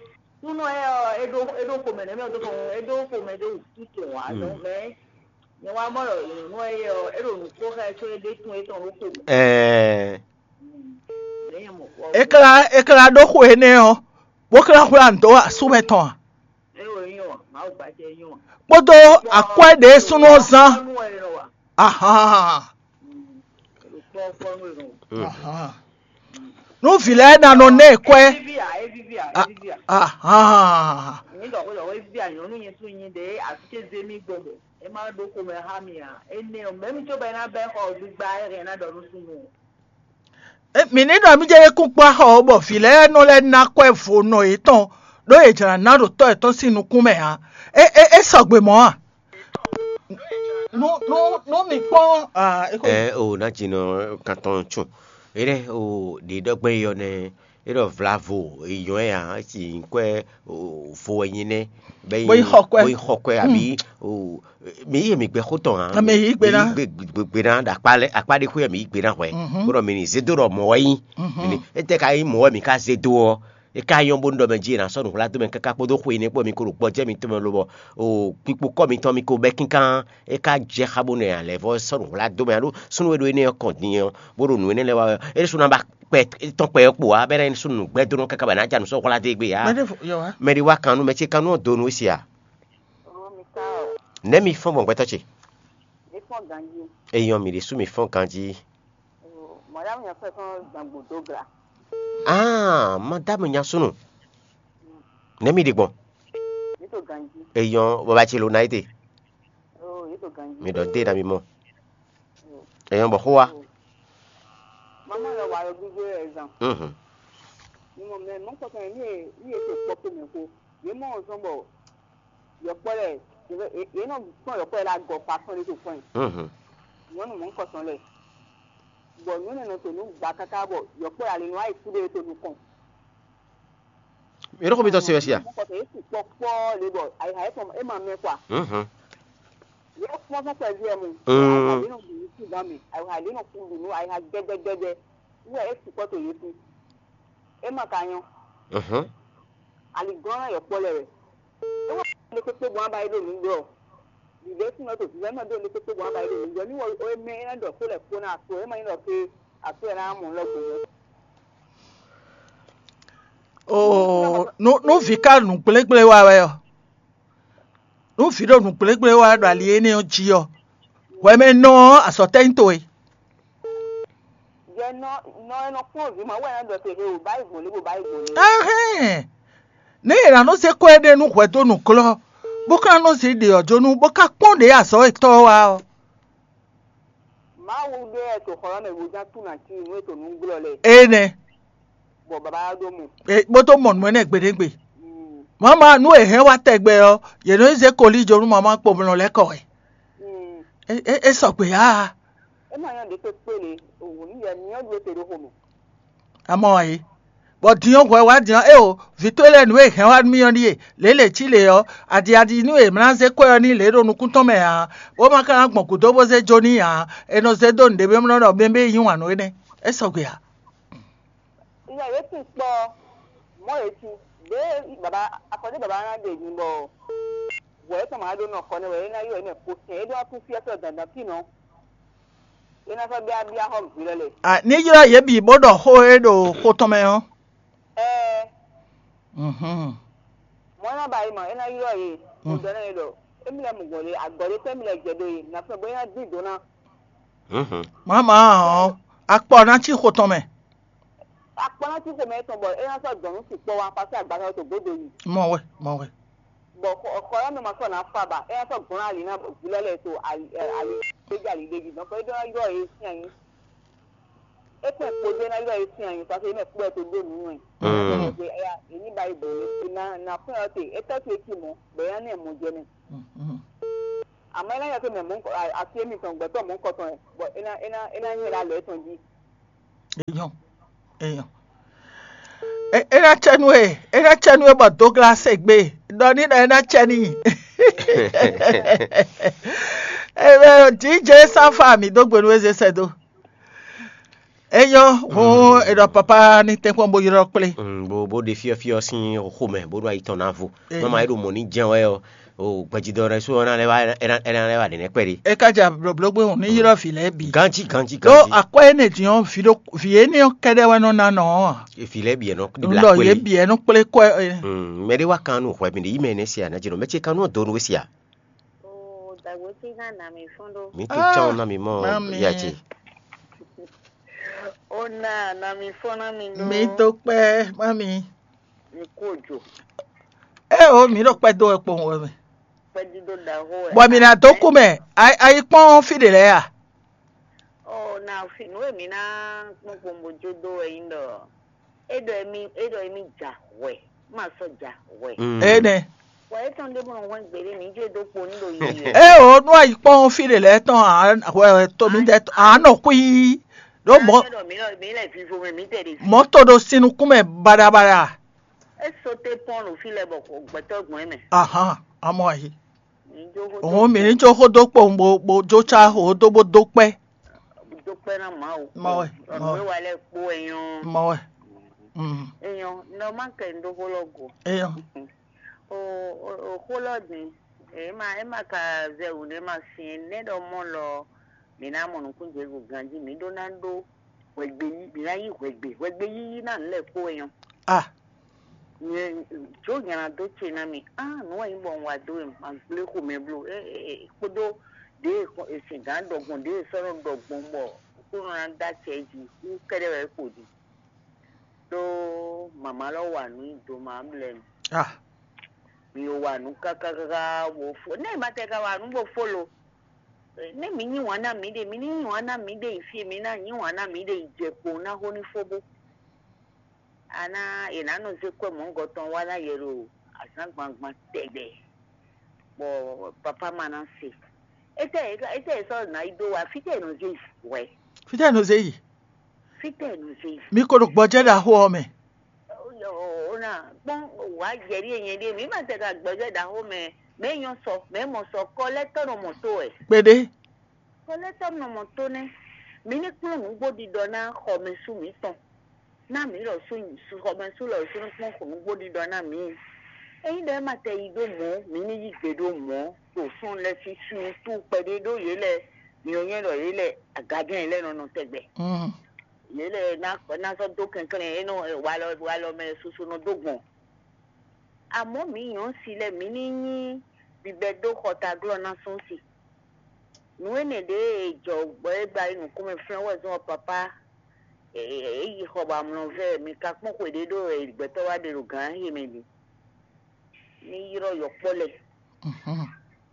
Súnɔ é ɔ́ é ɖó é ɖó xomɛ nɛ́ mɛ ɖó xomɛ é ɖó xomɛ ɖó wǔtú tɔn wá. Mm. Nɔ mɛ nyɛ wá mɔ ɖɔ nyɔ̌nu é ɔ́ é ɖo nǔ kó xá ɛ có é ɖe tún étɔn ɖó xomɛ. Ɛɛ. Mɛ nyɛ mɔ kpɔ. É kla é kla ɖó xo énɛ́ ɔ́, bó kla xwlá nǔ dó asú mɛ tɔn a? É wɛ nyɔ Mawu gbacɛ nyɔ. Kpódó akwɛ́ ɖě súnnu ɔ́ zán. Nú ɛ nɔ wa. Ahán. Kpɔ́kpɔ́ nú ɛ nɔ wa. Mm. Ahán. Nú vǐ lɛ́ɛ ná nɔ ná ɛ kwɛ́. Evivi a evivi a evivi a. Ahán. Ní dɔ̀kú dɔ̀kú evivi a nyɔ̌nu nyɛ sú nyi ɖe asúté zé mì gbɔn bɔ é má ɖó xomɛ xá mì a. Énɛ́ ɔ́ mɛ̌ mi có bɔ é ná bɛ́ xɔ gbígbá é hɛn ná ɖɔ nú súnnu. Mǐ ní ɖɔ mí jɛ kún kpó axɔ ɔ́, bɔ vǐ lɛ́ɛ nɔ lɛ́ ná kwɛ́ vo nɔ yětɔn, ɖó yě jlǎ ná ɖo tɔ́ yětɔn sín nukún mɛ ǎ. É é é sɔgbe mɔ̌ a? Nú nú nú mi kpɔ́n aa é xo. Ɛ o ná jinɔ kan tɔn tún. Énɛ́ o ɖě ɖɔgbɛ́n yɔ nɛ é ɖɔ vlavo èyɔn ɛ ǎ, é si nyǐkɔ ɛ vo wɛ nyi nɛ́. Bó yi xɔ kwɛ́. Bó yi xɔ kwɛ́ àbí o mi yí mi gbɛ xó tɔn hàn. Mɛ yí gbe ná. Gbe gbe ná ɖo akpá lɛ akpá ɖé xwé mi yí gbe ná hwɛ. Mhm. Bó ɖɔ mi ní zé dó ɖɔ mɔ̌ wɛ nyí. Mhm. Mi ní étɛ́ ka nyí mɔ̌ wɛ mi ka zé dó ɔ́, é ka nyɔ́ bónú ɖɔ mɛ jí è nǎ sɔ́ nǔ hwlá dó mɛ káká kpódó xwe énɛ́ kpó mi ko ɖo gbɔjɛ́ mitɔn mɛ lobɔ o kpikpo kɔ́ mitɔn mi ko bɛ́ kínkán. É ka jɛ xá bónú è nǎ lɛ́ vɔ́ sɔ́ nǔ hwlá dó mɛ alo súnnu e ɖo énɛ́ ɔ́ kɔn din ɔ́ bó ɖo nǔ énɛ́ lɛ́ɛ wa ɔ́, é ɖésú ná ba kpɛ tɔn kpɛ ɔ́ kpo ǎ bɛ́ ná nyí súnnu nǔgbɛ́dónɔ káká bɔ è nǎ ja nǔ sɔ́ hwlá dó égbé ǎ. Mɛ ɖé fo- yɔ wá. Mɛ ɖé wá kan nú mɛ ce kan nú ɔ́ dó nǔ é se a? Ɔ́, mi ka ɔ, Nɛ̌ mi fɔ́n gbɔn gbɛtɔ́ ce? Mi fɔ́n ganjí. Eyɔn mi ɖésú mi fɔ́n ganjí. Mɔ̌ɖámù nyɔ̌fɛ́ kɔn gbàngbò dó gla. Ah, madámù nyasúnù. Nɛ̌ mi ɖe gbɔn? Yě to ganjí. Eyɔn bɔbá ce lo ná yí te. Oh, yě to ganjí. Mi ɖɔ dé na mi mɔ. Eyɔn bɔ xó wa. Mama lɔ wa yɔ gbígbé ɛ zan. Mhm. Mi mɔ mɛ mɔ kɔtɔn yɛ ní e ní e to kpɔkpo mɛ ko. Yě mɔ zɔn bɔ yɔkpɔ lɛ yě nɔ kpɔn yɔkpɔ lɛ la gɔ kpa kpɔn ɖé to kpɔn. Mhm. Nyɔnu mɔ kɔtɔn lɛ. Bɔ nyɔnu nɔ to nú gba káká bɔ yɔkpɔ lɛ ali nɔ ayi kú ɖé to nukɔn. Yɔrɔ ko mi tɔ se wɛ sia. Mɔ kɔtɔn yě tu kpɔkpɔ le bɔ ayiha yɛ tɔn e ma mɛ kwa. Mhm. Yɛ kpɔn fún kpɛví ɛ mu. Mm. Ayiha yɛ nɔ bu yìí sí gan mi. Ayiha yɛ nɔ kú dunu ayiha gɛdɛgɛdɛ. Wúwɛ é sukpɔ́ to yě kú. É ma ka nyɔ́. Mhm. Aliglɔ́n ná yɔ kpɔ́ lɛ wɛ. É wá lé kpékpé gbɔn aba yi ɖo nǔ ɖɔ. Vǐvɛ́ sín ɔ́ to vǐvɛ́ ma ɖó lé kpékpé gbɔn aba yi ɖo nǔ ɖɔ. Ní wɔ é mɛ é ná ɖɔ xó lɛ́ kpó ná aso é ma nyí ɖɔ ké aso ɛ ná mɔ lɔ gbɔn. Oo, nú nú vǐ ka nǔgblégblé wa wɛ ɔ́, nú vǐ ɖo nǔgblégblé wa ɖo ali énɛ́ ɔ́ jí ɔ́, hwɛmɛnɔ ɔ́ azɔ̌ tɛ́ nyí towe? Jɛ nɔ nɔ e nɔ kplɔ́n vǐ ma wɛ nɔ ɖɔ te he o bá yi gbɔn lé bo bá yi gbɔn lé. Ahɛn! Nɛ̌ è nǎ nɔ zé kɔ́ éɖée nú hwɛ̌ dó nǔglɔ́, bó ka nɔ zé ɖě ɔ́ jó nú bó ka kpɔ́n ɖě azɔ̌ yětɔn ɔ́ wá ɔ́? Mawu ɖé wɛ to xɔ ɔ́ mɛ bo ján tú nǎ cí nǔ e to nǔ glɔ́ lɛ. Énɛ́. Bɔ baba wá ɖó mɔ. E bó tó mɔ nǔ énɛ́ gbeɖégbé. Mm. Mama nú è hɛn wá tɛgbɛ ɔ́, yě nɔ yi zé kolíjo nú mama kpomlɔ lɛ́ kɔ wɛ. Mm. É é é sɔgbe ǎ. É ma nyɔ́ ɖě kpékpé le, òwò ní yɛ myɔ ɖu é te ɖó xomɛ. Amɔ wá yé. Bɔ din ɔ́ hwɛ wá din ɔ́, éeǒ, vǐ towe lɛ́ɛ nǔ e è hɛn wá nú mì ɔ́ ɖíe, lě e lě cí lě ɔ́, adiadi nú è mlá zé kwɛ́ ɔ́ n'i lě e ɖo nukún tɔn mɛ ǎ, bó ma ka ná gbɔn gǔdo bó zé jó n'i ǎ, è nɔ zé dó nǔɖé mɛ mlɔ́ ɖɔ mɛ bɛ́ yi wǎn nú énɛ́. É sɔgbe ǎ. Ìyá yě kún kpɔ́ mɔ̌ yě cí, ɖěe baba afɔ ɖé baba ná ɖe nyibɔ hwɛ é tɔn ma ɖó nɔ kɔ nɛ́ wɛ é ná ylɔ́ yě mɛ kpo sɛn é ɖó ná kún fí ɔ́ sɔ́ dandan fínɔ. É ná sɔ́ byábyá xɔ vǐ lɔ lɛ. A ní ylɔ́ yě bǐ bó ɖɔ xó e ɖo xó tɔn mɛ ɔ́. Ɛɛ. Mhm. Mɔ̌ é ná ba yi mɔ é ná ylɔ́ yě. Mo ɖɔ n'i ɖɔ émí lɛ́ɛ mɔ gbɔn ɖé, agɔ̌ ɖé tɛ́ émí lɛ́ɛ jɛ ɖó e, nǎ fɛ́n bɔ é ná dín do ná. Mama ɔ́, akpɔ ná cí xo tɔn mɛ. Akpɔ ná cí xomɛ tɔn bɔ é ná sɔ́ dɔn nú sukpɔ́ wá pasé agbaza to gbódo yi. Mɔ wɛ, mɔ wɛ. Bɔ xɔ ɔ́ mɛ ma sɔ́ ná fa ba, é ná sɔ́ glɔ́n ali ná vǐ lɛ́ɛ lɛ́ɛ to ali ali gbéjé ali ɖé jí. Donc é ɖó ná ylɔ́ yě sín ayǐ. É kpɛn kpodó ná ylɔ́ yě sín ayǐ, parce que é mɛ kpó wɛ tó ɖó nǔ nú ɛ. Ɛ ní ba yi bɔ é ná ná fún ɛ te, é tɔ́ te cí mɔ̌, bɔ é ná nɛ mɔ jɛ mɛ. Àmọ́ é ná nyɛ tó mɛ mɔ̌ asi émítɔn gbɛtɔ́ mɔ̌ kɔtɔn ɛ, bɔ é ná é ná é ná nyɛ ɖo alɔ étɔn jí. Èèyàn, èèyàn. É ná cɛ nú e, é ná cɛ nú e bɔ Douglas e gbé ɖɔ ní ɖɔ é ná cɛ n'i. Ebe díje sáfà mǐ dó gbe nú eze sɛ dó. É nyɔ́ hǔn è ɖɔ papa ní tɛ́nkpɔ́n bó ylɔ́ kplé. Bó bó ɖe fyɔ́fyɔ́ sín xomɛ bó ɖo ayi tɔn ná vo. Mama é ɖo mɔ̌ ní jɛ́n wɛ ɔ́, o gbɛjidɔ ɖé sú ɔ́ ná lɛ́ wá é ná é ná lɛ́ wá ɖě nɛ́ kpɛɖé. É ka ja blǒblógbé hǔn ní ylɔ́ vǐ lɛ́ɛ bǐ. Ganjí ganjí Ɖó ganjí. Akwɛ́ énɛ́ din ɔ́, vǐ ɖó vǐ énɛ́ ɔ́ kɛ́ɖɛ́ wɛ nɔ ná nɔ ɔ́ a? Vǐ lɛ́ɛ bǐ ɛ nɔ Un ɖɔ yě bǐ ɛ nɔ kplé kɔ́ ɛ. Mɛ ɖé wá kan nú hwɛ mi ɖe yí mɛ énɛ́ se a ná jɛ nɔ mɛ ce kan nú ɔ́ do nú we se a? Oo, dagbe ce ná nà mí fún ɖó. Mi to Ah, tɔn na mi mɔ mami. Ya ce. Ó ná nà mí fún ná mi ɖó. Mi dó kpɛ́ mami. Mi kú òjò. Eo, mi ɖo kpɛ́ dó wɛ kpowun wɛ mɛ. Kpɛ́dídó ɖaxó wɛ. Bɔ mi ná dó kú mɛ. Ayi kpɔ́n fí ɖe lɛ́ɛ a? Ó ná fi nú èmi ná kpɔ́n kpɔ́n bó jó dó wɛ yín ɖɔ. É ɖɔ émí é ɖɔ émí ja hwɛ, má sɔ́ ja hwɛ. Énɛ́. Wɔ étɔn ɖé bó nɔ hwɛ́n gbeɖé mǐ jɛ dó kpo ní ɖo yiyi wɛ. Eo, nú ayi kpɔ́n fí ɖe lɛ́ɛ tɔn hwɛ to mi dɛ a nɔ kú yí. Ɖó mɔ Ɖɔ mí lɔ mí lɛ vivo mɛ mí tɛ ɖe fi. Mɔ to ɖo sin nukún mɛ baɖabaɖa. É sóté pɔ́n ɖo fí lɛ bɔ gbɛtɔ́ gbɔn é mɛ. Ahan, amɔ ayi. Mǐ jó xó Òun mǐ ní jó xó dó kpowun bó bó jó cá xó dó bó dó kpɛ́. Dó kpɛ́ ná Mawu. Mɔ wɛ, Ɔnú mɔ wɛ. É wa lɛ́ kpó wɛ nyɔ́. Mɔ wɛ. Mm. Èèyàn ní ọmọ kẹ́ ń dó xó lɔ go. Eyɔ. O o o xó lɔ din. Èyí ma é ma ka zɛ wǔ ní ma sin nɛ ɖɔ mɔ lɔ. Mǐ ná mɔ nukún Jezu ganjí mǐ ɖó ná ɖó hwɛgbe yí mǐ ná yí hwɛgbe hwɛgbe yíyí ná nǔ lɛ́ɛ kpó wɛ nyɔ́. Ah. Nyɛ jó nyana dó ce ná mi. Ah, nǔ wɛ nyí bɔ un wa dó e ma gblé xomɛ bló. É é é kpódó ɖěe sɛ̌n gǎn ɖɔgbɔn ɖěe sɔ́ nɔ ɖɔgbɔn bɔ kúnɔ ná dó acɛ jí kú kɛ́ɖɛ́ wɛ é kpo din. Ɖó mama lɔ wa nǔ nyi do ma mlɛ nu. Ah. Mi wa nǔ káká káká wo fo. Nɛ ma tɛ ka wa nǔ bo fo lo. Nɛ mi nyi wǎn ná mi ɖe, mi ní nyi wǎn ná mi ɖe yi fí, mi ná nyi wǎn ná mi ɖe yi jɛ kpo ná xó ní fó bó. Ana è nǎ nɔ zé kwɛ́ mɔ̌gɔtɔn wá ná yɛ ɖo azǎn gbangban tɛgbɛ, bɔ papa ma ná se. Étɛ́ étɛ́ è sɔ́ nǎ yi dó wá, fítɛ́ è nɔ zé yi hwɛ̌? Fítɛ́ è nɔ zé yi? Fítɛ́ è nɔ zé yi? Mi ko ɖo gbɔjɛ́ ɖaxó ɔ́ mɛ. Ó ná kpɔ́n wǎ jɛ̌ɖí e nyɛ ɖíe, mǐ ma tɛ ka gbɔjɛ́ ɖaxó mɛ, mɛ e nyɔ́ sɔ, mɛ e mɔ sɔ kɔ lɛ́ tɔ́ nɔ mɔ tó wɛ. Kpeɖé. Kɔ lɛ́ tɔ́ nɔ mɔ tó nɛ́. Mǐ ní kplɔ́n nǔgbó ɖiɖɔ ná xɔmɛsú mǐtɔn. Ná mǐ lɔ sú xɔmɛsú lɔ sú ní kplɔ́n nǔgbó ɖiɖɔ ná mǐ. Ényí ɖɔ é ma tɛ yi ɖó mɔ̌, mǐ ní yí gbe ɖó mɔ̌, ɖo súnnu lɛ́ɛ sín sú tú kpɛɖé ɖó yě lɛ́ɛ, mǐ nyɔ́ ɖɔ yě lɛ́ɛ agǎjɛ́n yě lɛ́ɛ nɔ nɔ tɛgbɛ. Yě lɛ́ɛ ná ná sɔ́ dó kɛnklɛ́n é nɔ walɔ walɔ mɛ susu nɔ dó gbɔn. Amɔ̌ mǐ nyɔ̌si lɛ́ɛ mǐ ní nyí bibɛdó xɔtaglɔ́ ná sún si. Nǔ énɛ́ ɖě e jɔ bɔ é gba yi nǔkún mɛ flɛ́n wɛ zɔ́n ɔ́, papá, é yi xɔ bɔ amlɔ vɛ mi ka kpɔ́n xwe ɖé ɖó wɛ gbɛtɔ́ wá ɖe ɖo gǎn he mɛ din. Ní ylɔ́ yɔkpɔ́ lɛ́ɛ.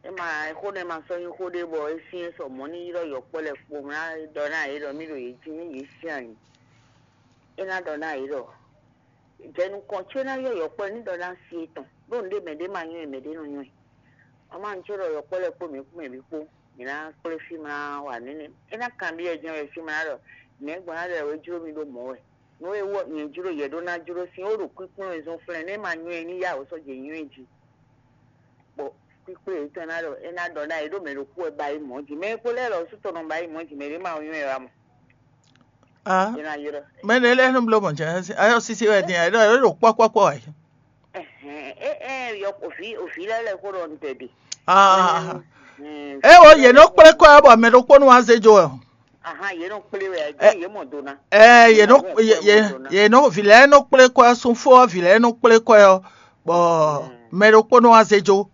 É ma xó nɛ́ ma sɔ́ nyí xó ɖé bɔ é syɛ́n sɔ mɔ̌ ní ylɔ́ yɔkpɔ́ lɛ́ɛ kpo ná ɖɔ ná yě ɖɔ mí ɖo yě jí nú yě sín ayǐ. É ná ɖɔ ná yě ɖɔ jɛ nukɔn có ná ylɔ́ yɔkpɔ́ lɛ́ɛ ní ɖɔ ná sí étɔn ɖó nǔɖé mɛ ɖé ma nywɛ́ mɛ ɖé nɔ nywɛ́. Wǎn má un có ɖɔ yɔkpɔ́ lɛ́ɛ kpó mǐ kpó mɛ bǐ kpó, mǐ ná kplé fí mlá wa nɛ́nɛ́. É ná kanbyɔ́ jɛ́n wɛ fí mlá ɖɔ nɛ̌ gbɔn ná ɖɔ wɛ jló mì ɖó mɔ̌ wɛ. Nǔ e wɔ nyɛ jló yɛ ɖó ná jló sín ó ɖo kúnkún e zɔ́n flɛ́n nɛ́ ma nywɛ́ ní yá wǒ sɔ́ jɛ nywɛ́ jí. Bɔ kpíkplé yětɔn ná ɖɔ é ná ɖɔ ná é ɖó mɛ ɖokpó wɛ ba yi mɔ̌ jí. Mɛ e kpo lɛ́ɛ lɔ sú tɔn nɔ ba yi mɔ̌ jí, mɛ ɖé ma nywɛ́ wá mɔ. Ah, É ná ylɔ́. Mɛ ɖé lɛ́ɛ nɔ bló mɔ̌ jɛ ayɔ sisi wɛ din, ayɔ ɖo kpɔ́kpɔ́kpɔ́ wɛ. Ɛhɛn, é é yɔ òfin òfin lɛ́ lɛ kó ɖɔ ntɛ ɖe. Ah, é wo yě nɔ kplé kɔ ɛ bɔ mɛ ɖokpó nɔ wá zé jó ɛ. Ahan, yě nɔ kplé wɛ, ɛ yě mɔ do ná. Ɛ yě nɔ yě yě yě nɔ vǐ lɛ́ɛ nɔ kplé kɔ ɛ, sunfó ɔ́ vǐ lɛ́ɛ nɔ kplé kɔ ɛ ɔ́, bɔ mɛ ɖokpó nɔ wá zé jó.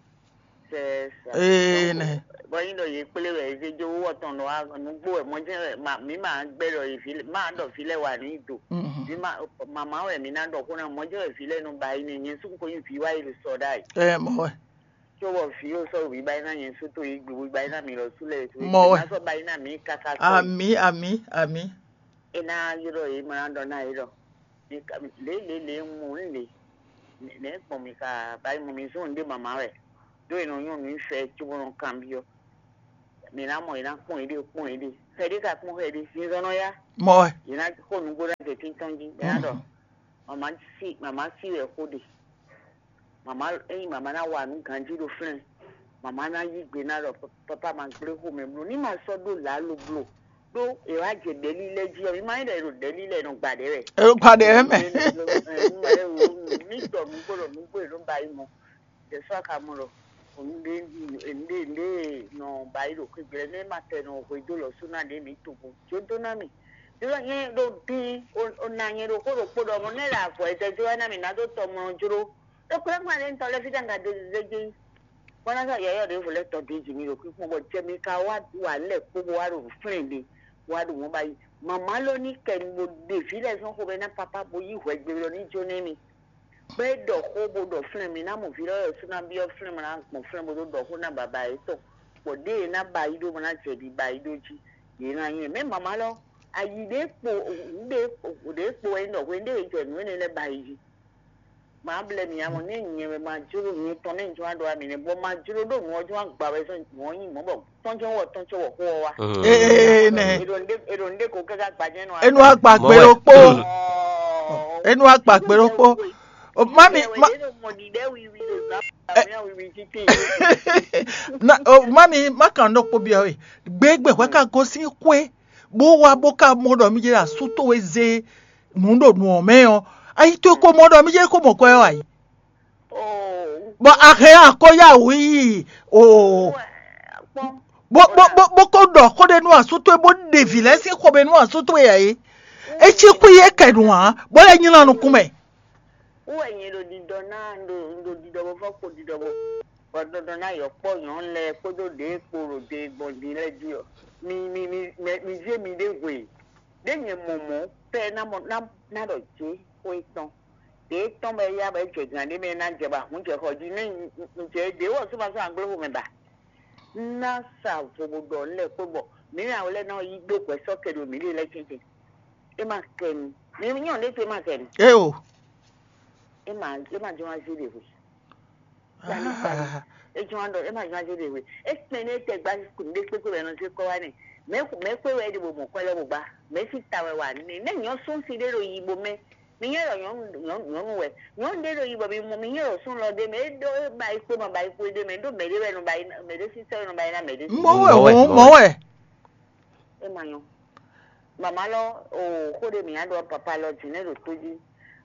Ee, nɛ. Bɔ nyi ɖɔ yě kplé wɛ zé jó wɔ tɔn ɖɔ wá nǔgbó wɛ mɔjɛ wɛ ma mǐ ma gbɛ ɖɔ yě vi ma ɖɔ vi lɛ wà ní do. Mhm. Mǐ ma mama wɛ mǐ ná ɖɔ xó ná mɔjɛ wɛ vi lɛ nɔ ba yi nɛ nyɛ sún ko nyi vi wá yi ɖo sɔ ɖa yi. Ɛ mɔ wɛ. Tso wɔ vi yóò sɔ wǐ ba yi ná nyɛ sún tó yi gbi wí ba yi ná mi lɔ sú lɛ. Mɔ wɛ. Má sɔ ba yi ná mi kaka sɔ. Ami ami ami. E ná yɔɖɔ yě ma ná ɖɔ ná yě ɖɔ. Lě lě lě mɔ lě. Nɛ gbɔn mi ka ba yi mɔ mi zɔn ɖé mama wɛ. Ɖó e nɔ nyɔ́ nǔ fɛ cóbó nɔ kanbyɔ́. Mǐ ná mɔ yě ná kpɔ́n yěɖée kpɔ́n yěɖée. Xɛ ɖé ka kpɔ́n xɛ ɖé, zinzɔn nɔ yá. Mɔ wɛ. Yě ná xo nǔgbó ná jɛ títɔn jí. Mǐ ná ɖɔ mama sí mama sí wɛ xó ɖe. Mama ényí mama ná wa nǔ ganjí ɖo flɛ́n. Mama ná yí gbe ná ɖɔ papa ma gblé xomɛ bló. Ní ma sɔ́ ɖó lǎlo bló. Ɖó è wá jɛ ɖɛ̌lí lɛ́ɛ jí ɔ́, mi ma nyí ɖɔ è ɖo ɖɛ̌lí lɛ́ɛ nɔ gba ɖɛ̌ wɛ. È ɖo gba ɖɛ̌ wɛ mɛ. Ní ɖɔ nǔgbó ɖɔ nǔgbó è nɔ ba yi mɔ. Jɛsɔ ka mɔ ɖɔ nɖe nɖe nɔ ba yi ɖo xwegbe lɛ ne ma tɛ nɔ hwe dó lɔ sú na ɖe mi to bo jo dó na mi. Ɖo nyɛ ɖo dín o na nyɛ ɖo xó ɖokpó ɖɔ mɔ ne ɖe avɔ e tɛ jɔ wɛ na mi na dó tɔ mɔ jló. Ɖo kplé kplé ɖe ŋutɔ lɛ fi ɖe ŋga do zizɛ dzi. Bɔna sɔ yɔyɔ ɖe vo lɛ tɔ ɖe dzi mi ɖo kpíkpɔ́n bɔ jɛ mi ka wá wa lɛ kpó bo wá ɖo flɛn ɖe wá ɖo mɔ ba yi. Mama lɔ ni kɛ bo ɖevi lɛ zɔn xo bɛ na papa bo yi hwɛ gbe lɔ ni jo ne mi. Bɔ é ɖɔ xó bó ɖɔ flɛ́n mǐ ná mɔ vǐ lɛ́ɛ wɛ sú ná byɔ́ flɛ́n mɔ ná gbɔn flɛ́n bó ɖó ɖɔ xó ná baba yětɔn, bɔ ɖěe é ná ba yi ɖó bó ná jɛ ɖi ba yi ɖó jí, yě ná nyí mɛ mama lɔ ayi ɖě kpo ɖě ɖě kpo wɛ nyí ɖɔ hwenu ɖé e jɛ nǔ énɛ́ lɛ́ɛ ba yi jí. Má blɛ́ mi ǎ mɔ nú nyɛ wɛ ma jló nyɛ tɔn nɛ́ un jló ná ɖɔ wá mi nɛ́, bɔ ma jló ɖó nǔ ɔ́ jló ná gba wɛ zɔn nǔ ɔ́ nyí mɔ̌ bɔ tɔ́n jɛ́n wɔ tɔ́n cɔ́ wɔ xó ɔ́ wá. Ee nɛ. È ɖo nɖé è ɖo nɖé ko káká gbajɛ nɔ. Enu agba Mɔ gbe wɛ. Ɖokpó. Enu agba gbe ɖokpó. O, mami, ma, È ɖo mɔ ɖiɖɛ wiwi ɖo zan wiwi títí. Na, o, mami, ma kan ɖokpó biɔ we. Gbegbe hwɛ ka gosín xwé, bó wá bó ka mɔ ɖɔ mi jɛ asú towe zé nǔ ɖo nǔ ɔ́ mɛ ɔ́, ayi towe ko mɔ ɖɔ mi jɛ ko mɔ kwɛ ɔ́ ayi. Bɔ a hɛn akɔ́yáwǔ yi o. Bó bó bó bó kó ɖɔ xó ɖé nú asú towe bó ɖe vǐ lɛ́ɛ sín xomɛ nú asú towe ǎ é. É cí xwí é kɛ nǔ ǎ, bó lɛ́ nylá nukún mɛ. Wú wɛ nyɛ ɖo ɖiɖɔ ná ɖo ɖo ɖiɖɔ bó fɔ kpo ɖiɖɔ bó bɔ ɖɔɖɔ ná yɔ kpɔ nyɔ̌nu lɛ́ɛ kpódó ɖě kpo ɖo ɖe gbɔn din lɛ́ɛ jí ɔ. Mi mi mi mɛ mi zé mi ɖé hwe. Ɖé nyɛ mɔ mɔ̌ pɛ ná mɔ ná ná ɖɔ jé xó étɔn. Ɖě tɔn bɔ é yá bɔ é jɛ gǎn ɖé mɛ ná jɛ bɔ ahǔn jɛ xɔ jí nú un jɛ ɖě wɔ só ma sɔ́ anglóxo mɛ ba. Ná sa vo bó ɖɔ lɛ kpó bɔ mǐ nya wɛ lɛ ná yí ɖó hwɛ sɔ́ kɛ ɖo mǐ ɖe lɛ́ɛ tɛ́ntɛn. É ma kɛ nu. Mǐ nyɔ́ ɖé te ma kɛ nu. Eo. É ma é ma jɔ wá zé ɖe hwe. Sani sani. É jɔ wá ɖɔ é ma jɔ wá zé ɖe hwe. É kpɛn ní é tɛ gbá kùn ɖé kpékpé wɛ nɔ zé kɔ wá nɛ. Mɛ mɛ kpé wɛ é ɖe bó mɔ kɔ lɔ bó gbá. Mɛ sí ta wɛ wà ní. Nɛ nyɔ sún si ɖé ɖo yi bo mɛ. Mi nyɛ ɖɔ nyɔnu nyɔnu nyɔnu wɛ. Nyɔnu ɖé ɖo yi bɔ mi mɔ mi nyɛ ɖɔ sún lɔ ɖé mɛ. É ɖó é ba yi kpé ma ba yi kpé ɖé mɛ. É ɖó mɛ ɖé wɛ nɔ ba yi mɛ ɖé sísɛ wɛ nɔ ba yi na mɛ ɖé. Mɔ wɛ Mɔ wɛ, o mɔ mɔ wɛ. É ma nyɔ. Mama lɔ o xó ɖé mǐ nya ɖɔ papa lɔ jǐnɛ ɖo tó jí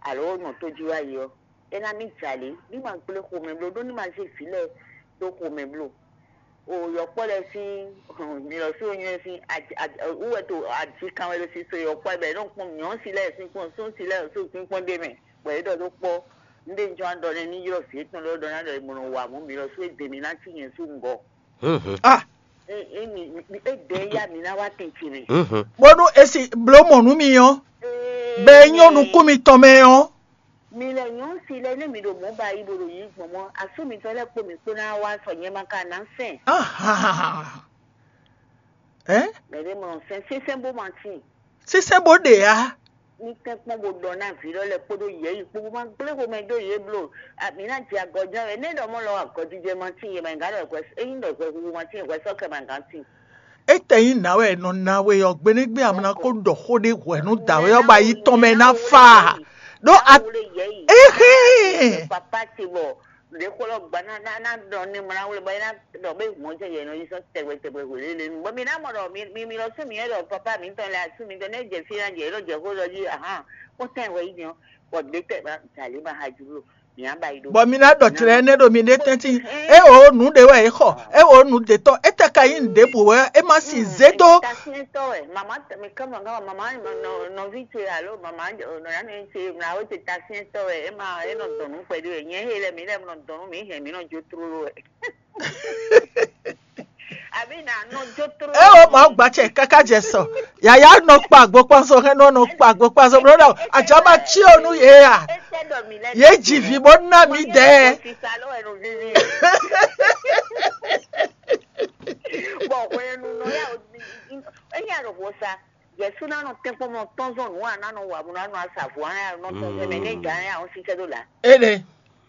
alo nɔ tó jí wá yi ɔ́, é ná mì jalě ní ma gblé xomɛ bló ɖó ní ma zé vǐ lɛ́ɛ ɖó xomɛ bló. O yɔkpɔ́ lɛ́ɛ sín mi lɔ sí onyɔ́ sín wú wɛ to aji kan wɛ ɖo sísɔ yɔkpɔ́ bɛ nɔ kpɔn nyɔ̌ sí lɛ́ɛ sín kpɔn sún sí lɛ́ɛ sín kpínkpɔ́n ɖé mɛ bɔ é ɖɔ ɖó kpɔ́. Un ɖe jɔn ɖɔ nɛ ní ylɔ́ vǐ étɔn lɛ́ɛ ɖɔ ná ɖɔ è mɔ nɔ wa mɔ̌ mi lɔ sú é dě mi ná cí nyɛ sú ŋgɔ. Ah, é dɛ ya mǐ ná wá tɛn ce mɛ. Bónú e si bló mɔ̌ nú mi ɔ́, bɛ é nyɔ́ nukún mitɔn mɛ ɔ́. Mi lɛ nyɔ̌ si lɛ nú mi ɖo mɔ̌ ba yi bo ɖo yǐ gbɔn mɔ́, asú mitɔn lɛ́ɛ kpó mǐ kpó ná wá sɔ nyɛ ma ka ná sɛn. Ahan. Ɛ? Mɛ ɖé mɔ sɛn sínsɛ́n bó ma tín. Sínsɛ́n bó ɖe ǎ. Ní tɛ́nkpɔ́n bó ɖɔ ná vǐ lɔ lɛ́ɛ kpódó yɛ̌yi kpó bó ma gblé xomɛ dó yě bló. Mǐ ná jɛ agɔján wɛ. Né ɖɔ mɔ lɔ agɔjijɛ ma tín yě ma nyí gǎn ɖɔ hwɛ ényí ɖɔ hwɛ huhu ma tín hwɛ sɔ́ kɛ ma gǎn tín. Étɛ́ nyí nǎ wɛ è nɔ ná we ɔ́ gbenégbé a ma ná kó ɖɔ xó ɖé hwɛ̌ nú dǎwe ɔ́ bɔ ayi tɔn mɛ ná fa a? Ɖó a éhɛ́n. Papa ce bɔ ɖě xó lɔ gba ná ná ná ɖɔ ní mɔ ná wle bɔ é ná ɖɔ bé mɔ̌ jɛ yɛ nɔ yi sɔ́ tɛgbɛ tɛgbɛ hwelélenu bɔ mi ná mɔ ɖɔ mi mi mi lɔ sú mi yɛ ɖɔ papa mi tɔn lɛ asú mi tɔn nɛ jɛ fí ná jɛ yɛ ɖɔ jɛ xó lɔ jí ahan kó tɛn hwɛ yi diɔ bɔ ɖě tɛ ma jalě ma ha jló. Bɔ mi ná ɖɔ tlɛ énɛ́ ɖo mi ɖe tɛ́ntin. É o nǔ ɖé wɛ é xɔ, é o nǔ ɖé tɔn, étɛ́ ka nyí nǔ ɖěbǔ wɛ é má sin zé dó. Tasiɛntɔ wɛ mama mi kama kama mama nɔvi ce alo mama nɔyanu ce mlawo ce tasiɛntɔ wɛ é ma é nɔ dɔn nǔ kpɛɖé wɛ nyɛ he lɛ mi lɛ nɔ dɔn nú mi hɛn mi nɔ jó tlóló wɛ. Àbí nà nɔ jó tló. Eo, Mawu gba ce káká jɛ sɔ. Yaya nɔ kpa agbo kpán sɔ, hɛn nɔ nɔ kpa agbo kpán sɔ, blo ɖɔ ajá ma cí o nú yě a. Yě ji vǐ bó ná mì dɛ. Bɔ hwenu nɔ ya o, eya ɖo vo sa. Yɛsu ná nɔ tɛ́nkpɔ́n mɔ tɔn zɔn nǔ a ná nɔ wa bó ná nɔ asavɔ a nɔ tɔn zɔn mɛ ní gǎn ya ɔ́ sísɛ ɖó la. Ene.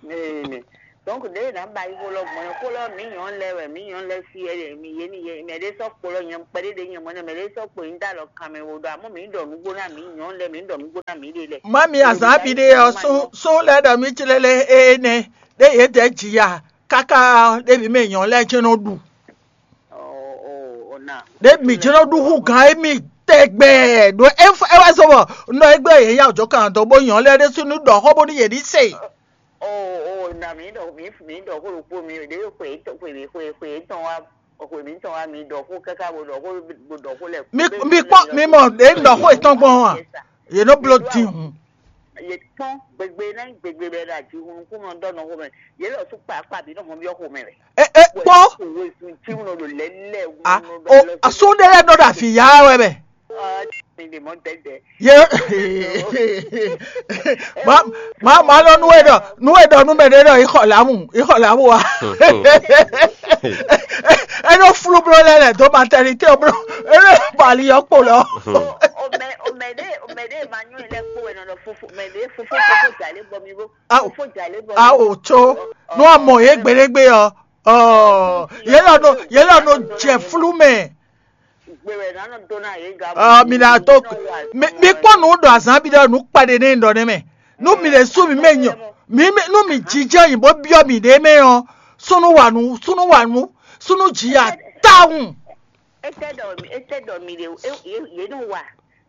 Mɛ donc ɖe ná ba yi xó lɔ gbɔn xó lɔ mǐ nyɔ̌ lɛ wɛ mǐ nyɔ̌ lɛ si wɛ ɖe mǐ yé ní yé mɛ ɖé sɔ́ kpo lɔ nyɛ kpɛɖé ɖe nyɛ mɔ nɛ mɛ ɖé sɔ́ kpo nyi dá lɔ kan mɛ wo ɖɔ amɔ́ mǐ ɖɔ nǔgbó ná mǐ nyɔ̌ lɛ mǐ ɖɔ nǔgbó ná mǐ ɖe lɛ. Mami azǎn bi ɖe ɔ́ sún sún lɛ́ ɖɔ mí tlélé énɛ́ ɖé yě dɛ jǐ ya káká ɖé mǐ mɛ nyɔ̌ lɛ́ɛ jɛ́n nɔ ɖu. Ɖé mǐ jɛ́n nɔ ɖu hú gǎn émí tɛgbɛ ɖo é wá zɔ bɔ un ɖɔ égbé yě nya jɔ kan dɔ bó nyɔ̌ lɛ́ɛ ɖésú ní ɖɔ xó bónú yě ní se. Oo, oo, na mǐ ɖɔ mǐ mǐ ɖɔ xó ɖokpó mi ɖě xwe xwe xwe xwe tɔn wá xwe mǐtɔn wá mi ɖɔ xó káká bó ɖɔ xó bó ɖɔ xó lɛ. Mi mi kpɔ́n mi mɔ ɖě un ɖɔ xó yětɔn gbɔn ɔ́ a? Yě nɔ bló din hǔn. Yě kpɔ́n gbegbe ná gbegbe bɛ ɖo aji hun nukún nɔ ɖɔ nɔ xó mɛ. Yě lɔ sú kpa akpa bǐ nɔ mɔ byɔ́ xó mɛ wɛ. E e kpɔ́. Wezun tí mo nɔ ɖo lɛ lɛ. A o asún ɖé lɛ́ɛ nɔ ɖo afǐ yá wɛ mɛ. Ɔ mi ɖe mɔ dɛdɛ. Ye ma ma ma lɔ nu e ɖɔ nu e ɖɔ nu mɛ ɖe ɖɔ ixɔ lamu ixɔ lamu wa. Enɔ flu blo lɛ lɛ do maternité blo enɔ bali yɔ kpo lɔ. Ome ome ɖe ome ɖe ma nyɔ lɛ kpo enɔ lɔ fofo mɛ ɖe fofo fofo dza lɛ bɔ mi bo. Awo fofo dza lɛ bɔ mi. Awo tso nu amɔ ye gbeɖegbe ɔ ɔ yelɔ no yelɔ no jɛ flu mɛ. Mi ná tó mi kpɔ́n nǔ ɖo azǎn bi ɖɔ nǔ kpaɖé nɛ ɖɔ nɛ mɛ. Nú mi lè sú mi mɛ nyɔ mi nú mi jijɛ nyi bó byɔ́ mi ɖě mɛ ɔ́, súnú wa nǔ súnú wa nǔ súnú ji ya tawun. Étɛ́ ɖɔ étɛ́ ɖɔ mi ɖe yě nɔ wa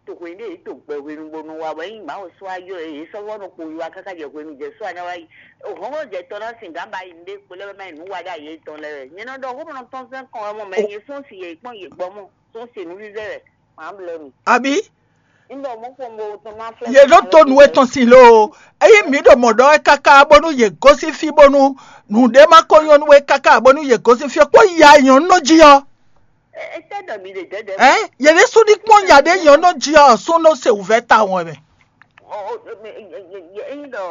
toxwe ɖé yě to gbɛ hwenu bó nɔ wa bɔ ényí Mawu sɔ́ ayɔ yě sɔ́ vɔ nɔ kpo yi wa káká jɛ hwenu jɛ sɔ́ aná wá yi. Hɔnhɔn jɛ tɔn ná sin gǎn ba yi nuɖé kpo lɛ́ wɛ má yi nǔ wa ɖó ayé tɔn lɛ́ wɛ. Nyɛ nɔ ɖɔ xó nɔ tɔn sɛn kɔn wɛ mɔ mɛ nyɛ sɔ́n si yě kpɔ́n yě gbɔ mɔ sɔ́n se nǔvívɛ́ wɛ. Má blɛ́ mi. Abi Un ɖɔ mɔ̌ kpɔn bó tɔn má flɛ́. Yě ɖó to nǔ etɔn sin lo. Ényí mǐ ɖo mɔ̌ ɖɔ wɛ káká bónú yě gosín fí bónú nǔɖé má ko nyɔ́ nú we káká bónú yě gosín fí ɔ́ kpó ya nyɔ̌nu nɔ jí ɔ́. Étɛ́ ɖɔ mi ɖe dɛ̌dɛ̌? Ɛ yě ɖésú ní kpɔ́n nya ɖé nyɔ̌nu nɔ jí ɔ́ sún nɔ se wǔvɛ́ tawun wɛ mɛ. Ényí ɖɔ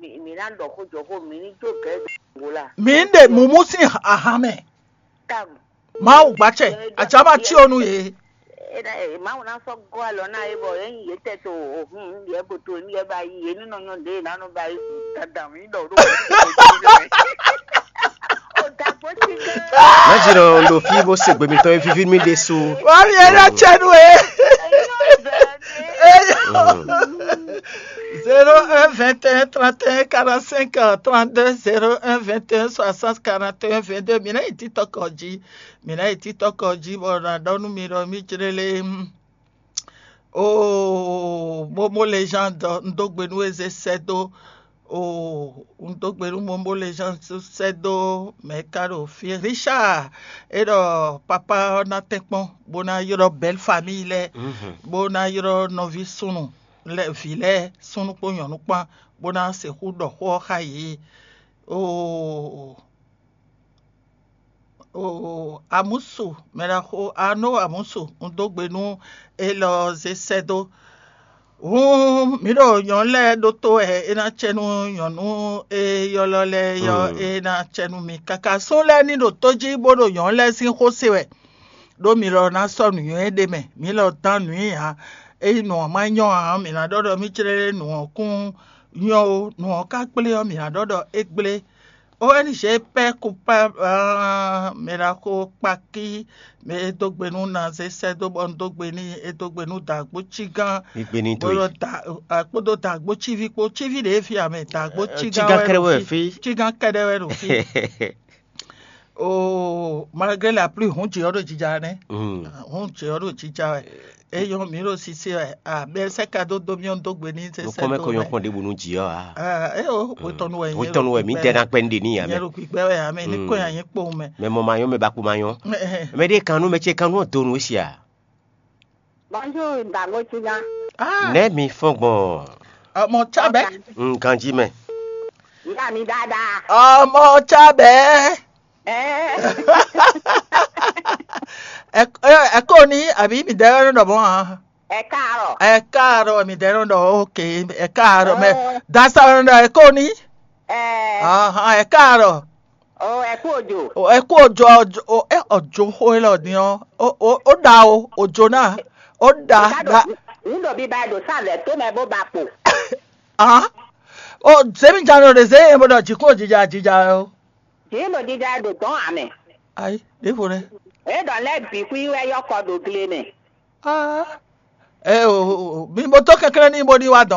mǐ ná ɖɔ xó jɔ xó mǐ ní jó gɛ̌ ɖo la. Mǐ ɖe mǔmú sín ahan mɛ. Mawu gbacɛ atsaba tí o nu yě. Mawu ná sɔ́ gɔ́ alɔ ná é bɔ é nyi yě tɛ to òhun yě bo to ní yɛ ba yi yě ní nɔ nyɔ ɖě ná nɔ ba yi dandan mǐ ɖɔ ɖó. Má jí nɔ ɖo fí bó se gbe mitɔn e víví mì ɖésú. Wá mi ɛ ɖɔ tsɛ nú e. Zéro un vingt et un trente et un quarante-cinq trente-deux zéro un vingt et un soixante quarante et un vingt-deux. Mi ná yi TikTok jí. Mi ná yi TikTok jí bɔ na ɖɔ nú mi ɖɔ mí jlélé. Oo, Momo Legend, un dó gbe nú eze sɛ́ dó. Oo, un dó gbe nú Momo Legend sɛ́ dó mɛ ka ɖo fí. Richard, é ɖɔ papa ɔ́ ná tɛ́nkpɔ́n bó ná ylɔ́ bɛ́l famíyi lɛ́ɛ, bó ná ylɔ́ nɔví súnnu lɛ́ɛ vǐ lɛ́ɛ súnnu kpó nyɔ̌nu kpán bó ná sixú ɖɔ xó ɔ́ xá yě. Oo, oo, Amusu, mɛ ɖaxó Arno Amusu, un dó gbe nú élɔ́ zé sɛ́ dó. Hǔn mǐ ɖo nyɔ̌nu lɛ́ɛ ɖótó wɛ é ná cɛ nú nyɔ̌nu e ylɔ́ lɛ́ɛ ɔ́, é ná cɛ nú mi káká. Sún lɛ́ɛ ní ɖo tó jí bó ɖo nyɔ̌nu lɛ́ɛ sín xó se wɛ. Ɖó mi lɔ ná sɔ́ nǔnywɛ́ ɖé mɛ, mǐ lɔ dán nǔ nyi ǎ. Ényí nǔ ɔ́ má nyɔ́ ǎ, mǐ ná ɖɔ ɖɔ mí jlɛ́ nǔ ɔ́ kún nyɔ́ ó, nǔ ɔ́ ka gblé ɔ́, mǐ ná ɖɔ ɖɔ é gblé. O N G pɛ kupa mɛ ɖaxó kpakí mɛ e dó gbe nú Nazé sɛ́ dó bɔ un dó gbe n'i, e dó gbe nú dǎgbó cígán. Mi gbe ní to yi. Kpódó dǎgbó cíví kpó cíví ɖě fí amɛ dǎgbó cígán wɛ ɖo fí. Cígán kɛɖɛ wɛ ɖo fí. Oo, malgré la pluie, hǔn jǐ ɔ́ ɖo jija nɛ́. Hǔn jǐ ɔ́ ɖo jija wɛ. Eyɔn mǐ ɖo sise wɛ. A bɛ sɛ ka dó dó mì ɔ́ dó gbe ní sɛ sɛ dó. Nukɔn mɛ ko nyɔ́ kpɔn ɖěbǔ nú jǐ ɔ́ a? Aa, é o, wetɔnu wɛ nyɛ. Wetɔnu wɛ mǐ dɛ ná kpɛ ní ɖe ní yǎ mɛ. Nyɛ ɖo gbígbɛ wɛ ǎ mɛ ní kó yà nyɛ kpowun mɛ. Mɛ mɔ ma nyɔ́ mɛ ba kú ma nyɔ́. Mɛ ɖé kan nú mɛ ce kan nú ɔ́ do nǔ é si a? Bonjour, Dango Tigan. Nɛ̌ mi fɔ́n gbɔn? Ọmọ Chábẹ́. Nǹkan jí mɛ. Ìyá mi dáadáa. Ọmọ Chábẹ́. Ɛɛ, Ɛ ɛ ɛ kó ní àbí mi dɛ ɔ́ ɖɔ mɔ̌ ǎ. ɛ káàárọ̀. Ɛ káàárọ̀ mi dɛ ɔ́ ɖɔ ókè. Ɛ káàárọ̀ mɛ dasa ɔ́ ɖɔ ɛ kó ní. Ɛɛ, Ahan, ɛ káàárọ̀. o ɛ kú òjò. O ɛ kú òjò òjò o ɛ òjò xó élɔ́ din ɔ́. O o o ɖa o òjò náà. O ɖa Ká ɖa ɖo ń ɖo bíbá ɛ ɖo sáàlẹ̀ tó mɛ bó ba kpo. Ahan. O zémi jalo ɖe zé yẹn bó ɖɔ jǐkún òjìjà jìjà o. Jǐ ɖo jíjá ɛ ɖo dɔn amɛ. Ayi ɖěvo ɖɛ. É ɖɔ lɛ́ bǐ xwí wɛ yɔ́kɔ ɖo gle mɛ. Ah. Ɛ o o o mi bó tó kɛnklɛ́n ní bó ní wá dɔn.